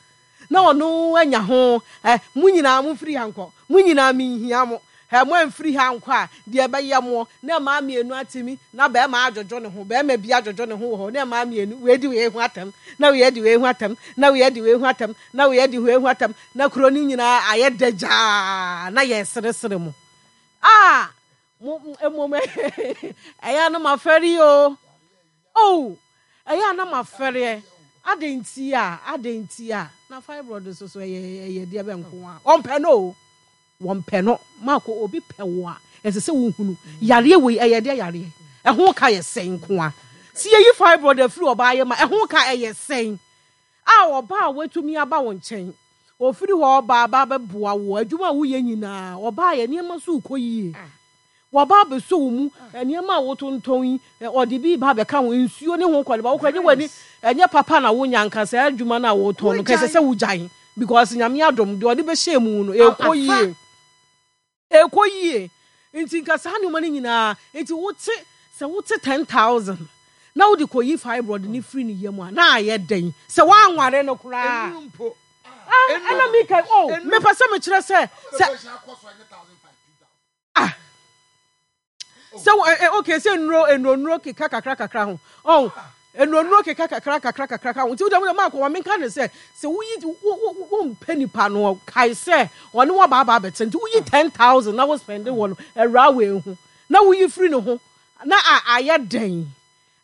na ɔno anya ho. Ɛ mo nyinaa mo firi ha nkɔ, mo nyinaa mi nhia mo. Ɛ mo amfiri ha nkɔ a, deɛ ɛbɛyɛ mo na mmaa mmienu atemi na bɛrima adwodwo ne ho, bɛrima bi adwodwo ne ho wɔ hɔ, na mmaa mmienu wei di wei ho atɛm, na wei di wei ho atɛm, na wei di wei ho atɛm, na wei di wei ho atɛm, na kuro no nyinaa ayɛ dagyaa na yɛ seresere mo. Aa, mo mmom ɛyɛ anam afɛre o o, ɛyɛ anam afɛreɛ. Ade nti a, ade nti a na fibroid nso so ɛyɛ ɛyɛ deɛ bɛ nko a ɔmpɛ no o, wɔmpɛ no. Maako, obi pɛ wo a, ɛsɛ sɛ wohunu yareɛ wei ɛyɛ deɛ yareɛ ɛho ka yɛ sɛn nko a si yɛyi fibroid afiri ɔbaa yɛ ma ɛho ka ɛyɛ sɛn a ɔbaa a watumi aba wo nkyɛn, ofiri hɔ ɔbaa aba bɛboa wo adwuma a woyɛ nyinaa, ɔbaa yɛ nneɛma so kɔ yie, wɔba abɛsɔ wo mu, nneɛma a wotontɔn yi, ɔde bi ba bɛka ho, nsuo ne ho kɔde ba wokɔ ɛnyɛ w'ani ɛnyɛ papa na wonya nka saa adwuma no a wotɔn no kɛsɛ sɛ wogyae, because Nyame adom deɛ ɔde bɛhyɛ mu no ɛkɔ yie, ɛkɔ yie. Nti nka saa nneɛma no nyinaa nti wote sɛ wote ten thousand na wode kɔyi fibroid ne firi ne yam a, na ayɛ dɛn sɛ woanware no koraa? Ɛna mika o, mepɛ sɛ mekyerɛ sɛ sɛ ah sɛ ɛ okay, sɛ nnuro nnuro nnuro keka kakra kakra ho ɔn nnuro nnuro keka kakra kakra kakra ho. Nti wode wode maakɔ ma menka ne sɛ sɛ woyi wo wo wo mpɛ nipa no, kae sɛ ɔne wo abaaba abɛtɛ. Nti woyi ten thousand na wo spend wɔ no awura wɔ ehu na woyi firi ne ho na a ayɛ dɛn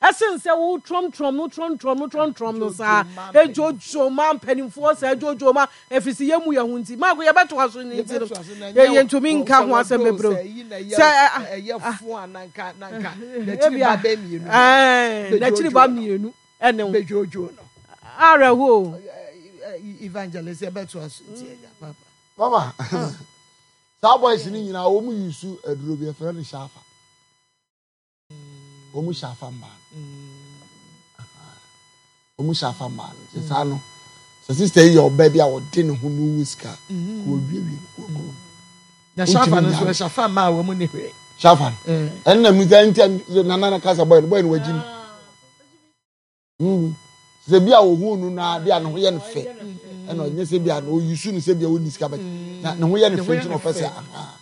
ɛsen sɛ wo trɔmtrɔm no trɔmtrɔm no trɔmtrɔm no saa edwodwo ma mpanimfoɔ saa edwodwo ma efisi yɛ mu yɛ ho. Nti maako yɛbɛto aso ne nti no yɛntumi nka ho asɛm bebree sɛ ɛyɛ fo a nanka nanka n'akyiri ba bɛɛ mmienu. Ɛɛ, n'akyiri ba mmienu ɛne ho bɛdwodwo no. Awerɛho. Evangelist, yɛbɛto aso nti ɛgya papa. Mama, saa boys ni nyinaa wɔn mu yusu aduro bi yɛfrɛ no shafa. Wɔn mu shafa mmaa no, wɔn mu shafa mmaa no sɛ saa no sɛ sister yi yɛ ɔbaa bi a ɔde ne ho no wu sika kò owiewie kò kò. Na shafa no nso ɛshafa mmaa a wɔn mu ni hwee. Shafa no ɛnna mu sɛ ntɛm nana na kasa boy no boy no wagyi mi sɛ bi a ohun no na bi a ne ho yɛ no fɛ. Ɛna ɔnyɛ sɛ bi a na oyi su no sɛ bi a ɔnni sika bɛt na ne ho yɛ ne fɛ nti na ɔpɛ sɛ aha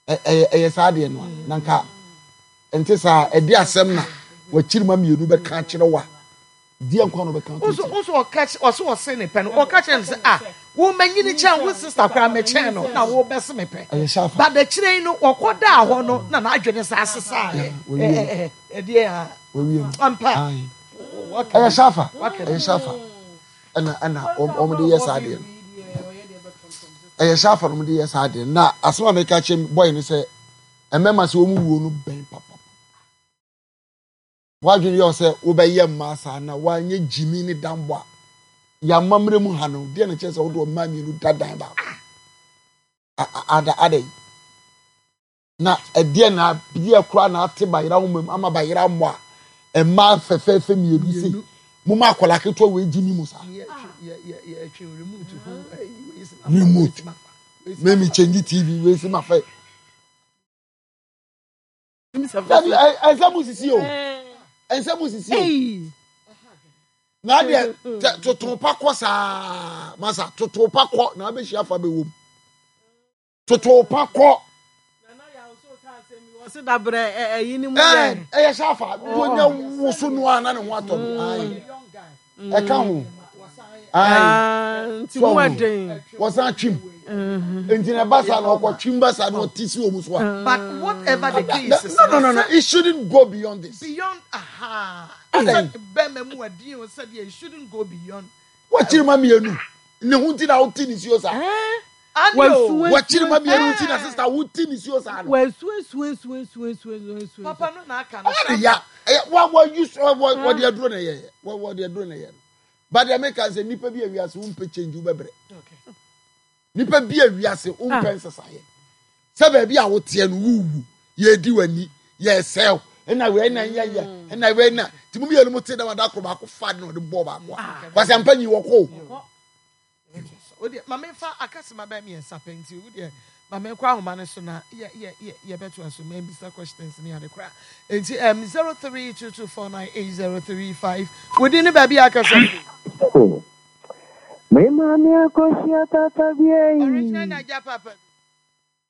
ɛyɛ ɛyɛ saa adeɛ no a na nka nte saa. Ɛde asɛm na wakyiri ma mmienu bɛka akyerɛ wa deɛ nkwa na ɔbɛka ato nso nso ɔka ɔso ɔse ne pɛ no, ɔka kyerɛ no sɛ, ah, wo manyini kyɛn wo sister koraa, mɛkyɛn no na wo bɛse me pɛ. Ɛyɛ hyɛ afa. But akyire yi no, ɔkɔ daa hɔ no na n'adwene sa asesa. Yeah, wɔwie. Ɛdeɛ a wɔwie no. Ampa. Aye. Ɛyɛ hyɛ afa, ɛyɛ hyɛ afa ɛna ɛna wɔn de yɛ saa adeɛ no. Ɛyɛ hyɛ afa na wɔn de yɛ saa adeɛ no. Na asɛm a meka kyerɛ bɔyɛ no sɛ mmarima sɛ wɔn wuo no bɛn papa. Wadwene yɛ sɛ wobɛyɛ mmaa saa na wanyɛ gyimi ne dambɔ a yɛamammerɛ mu ha no deɛ na kyerɛ sɛ wode ɔmmaa mmienu da dan baako. A- a- ada ada yi na ɛdeɛ na adeɛ koraa na ate bayera wo mam ama bayera mmɔ a mmaa fɛfɛɛfɛ mmienu sei mo ma akwadaa ketewa wei gyimi mu saa. Yɛtwe remote ho. Remote mɛmi change T V wei si ma fɛ. Dabi, ɛnsɛ mu sisi o, ɛnsɛ mu sisi o. Na adeɛ tɛ toto pa kɔ saa masa, toto pa kɔ na abɛhyia fa bɛwɔ mu, toto pa kɔ. Ɔse dabrɛ ɛyi ni mu ɛɛ yɛ. Ɛyɛ hyɛ afa wonya woso no a na ne ho atɔ no. Ayi, ɛka ho ayi. Nti mu ɛden. Wɔsan twim nti na ɛba saa na ɔkɔ twim ba saa na ɔte si wɔn so a. But whatever the case is. No, no, no, no, it shouldn't go beyond this. Beyond, aha. Adan. Bɛrima mu adi o sɛdeɛ it shouldn't go beyond. Wɔkyiri ma mmienu ne ho nti na wote ne suo saa. Ani o. Wɔkyiri ma mmienu nti na sister wote ne suo saa no. Wɔasu esu esu esu esu esu esu. Papa no na aka no. Ɔde ya ɛyɛ wa wa use wɔ wɔde aduro na ɛyɛ wɔ wɔde aduro na ɛyɛ no. But deɛ meka sɛ nipa bi awiase wompɛ change, wobɛbrɛ. Nipa bi awiase wompɛ nsesaeɛ sɛ baabi a woteɛ no wuwu, yɛdi w'ani, yɛsɛw, ɛna wei na yɛ yɛ ɛna wei na nti mo mmienu mo te dɛm ada koro baako fa de na ɔde bɔɔ baako a kwasi ampa nyi wɔ kɔ o. Wodeɛ ma memfa akasema bɛɛ mmiɛnsa pɛ nti wodeɛ ma menkɔ ahoma no so na yɛ yɛ yɛ yɛbɛto aso mambisa questions ne ade koraa. Nti um, zero three two two four nine eight zero three five, wodi ne baabi a akasa fi. Me maame akɔhyia tata bi. Original Naija papa.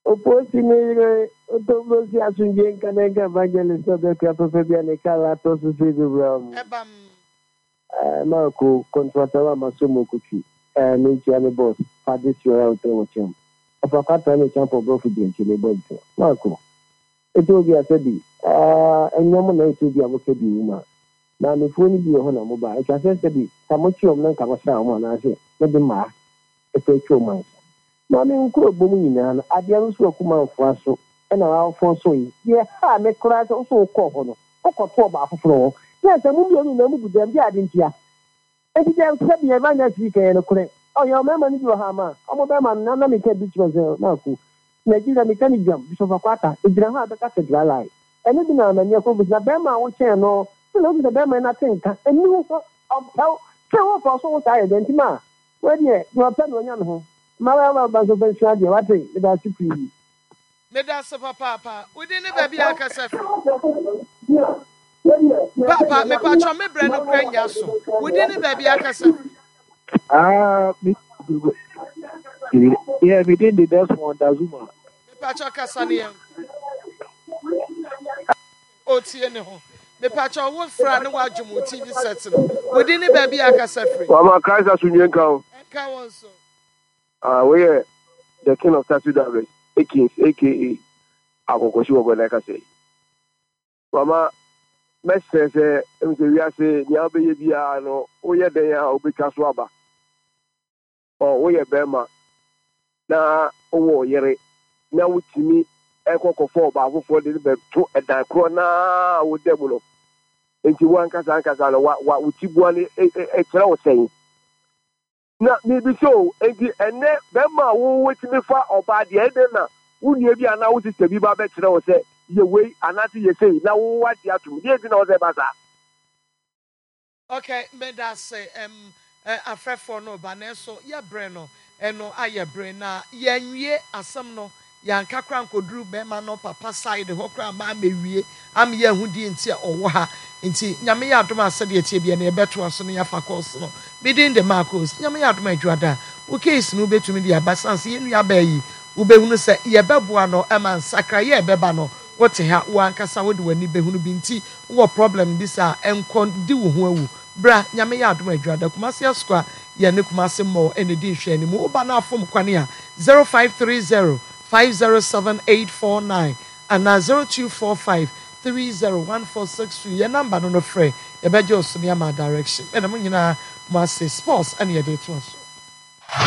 Oposi ne yere otombosi asomdwe nka ne nka evangelist ɔbɛkura papa bi a ne kala atɔ so sɛ ebewura mu. Ɛbam. Marco kɔntrata wa ma so mu okotwi ɛɛ ne nkyia ne boss fade si ɔyɛ ɔtɛ wɔ kyɛm ɔfa kwata ne kyɛn pɔ bɔfo di nkyɛn ne bɔ nkyɛn. Marco etu obi asɛ bi ɛɛ ɛnyɛ mo na etu obi a mo kɛ bi wu ma maamefoɔ no bi wɔ hɔ na mo ba atwa sɛ sɛ bi ka mo kyi wɔn na nka mo sra wɔn anaasɛ mo de mmaa ɛfɛ atwa wɔn ansa maame nkuro bɔ mu nyinaa no adeɛ no nso akumanfoɔ aso ɛna wafoɔ so yi deɛ ha me koraa sɛ wosɛ wokɔɔ hɔ no wokɔto ɔbaa foforɔ hɔ na sɛ mo mmienu na mo gu dɛm de ade ntia enti deɛ sɛ bi evangelist yi kɛyɛ no korɛ ɔyɛ ɔmɛɛma no bi wɔ ha ama ɔmo bɛɛma no na meka bi kyerɛ sɛ maako Nigeria meka ne dwam Bishop Akwata egyina hɔ a bɛka sɛ dry line ɛno bi na amani akɔ na bɛɛma a wokyɛn no sɛ na wobi sɛ bɛɛma no ate nka ɛni wo hɔ ɔmpɛw sɛ wofa so wo saa yɛ dɛ nti ma wɔdeɛ deɛ ɔpɛ na ɔnya ne ho ma wɔyɛ ba nso fɛ nsua deɛ wate meda ase pii. Meda ase papaapa. Wodi ne baabi a akasa fi. Papa, mepatwɔ me brɛ no kora nya so. Wodi ne baabi a akasa fi. Ah, me, yeah, me did the Desmond Dazuma. Mepatwɔ kasa ne yɛn otie ne ho. Mepatwɔ wo fra ne wadwom wo T V set no. Wodi ne baabi a akasa firi. Wama Christ asomdwe nka wo. Ɛnka wɔn so. Ah, woyɛ the king of taxi drivers, Akins, A K A akɔkɔsi wɔ gɔda kasa yi. Wama mɛsrɛ sɛ ɛmu sɛ wiase nea wobɛyɛ biara no woyɛ dɛn a wobɛtwa so aba. Ɔ woyɛ bɛrima na wowɔ yere na wotumi ɛkɔ kɔfɔ ɔbaa foforɔ de no bɛto ɛdan korɔ naa woda mu no nti wankasa ankasa no wa wa wo ti bua no ɛkyerɛ wo sɛn na biribi so. Nti ɛnɛ bɛrima a wowotumi fa ɔbaa deɛ ɛdɛn na wo nua bi anaa wo sister bi ba bɛkyerɛ wo sɛ yɛ wei anaasɛ yɛ sei na wo wagye atom deɛ nti na wo sɛ ɛba saa. Okay, meda ase. um, uh, afrɛfoɔ no ba nanso yɛbrɛ no ɛno ayɛ brɛ na yɛnwie asɛm no. Yɛanka kora nkɔduru bɛrima no papa side hɔ kora ma amɛwie ama yɛahu deɛ nti a ɔwɔ ha. Nti Nyame yɛ adom a, sɛdeɛ ɛteɛ biara no, yɛbɛtoa so na yɛafa course no. Me din de Marcos. Nyame yɛ adom a, Adwuada, wo case no wobɛtumi de aba. Sane sɛ yɛn nuabaa yi, wobɛhunu sɛ yɛbɛboa no ma nsakraeɛ a ɛbɛba no, wote ha, wo ankasa wode w'ani bɛhunu bi. Nti wowɔ problem bi saa a, nkɔ di wo ho awu. Bra, Nyame yɛ adom a, Adwuada, Kumasi Asukwa, yɛne Kumasi Mall na ɛdi nhwɛanimu. Woba na afom kwane a, zero five three zero five zero seven eight four nine anaa zero two four five three zero one four six two yɛ number no no frɛ, yɛbɛgye wo so ne ama direction. Meda mo nyinaa mo ase. Sports ɛne yɛde retoa so.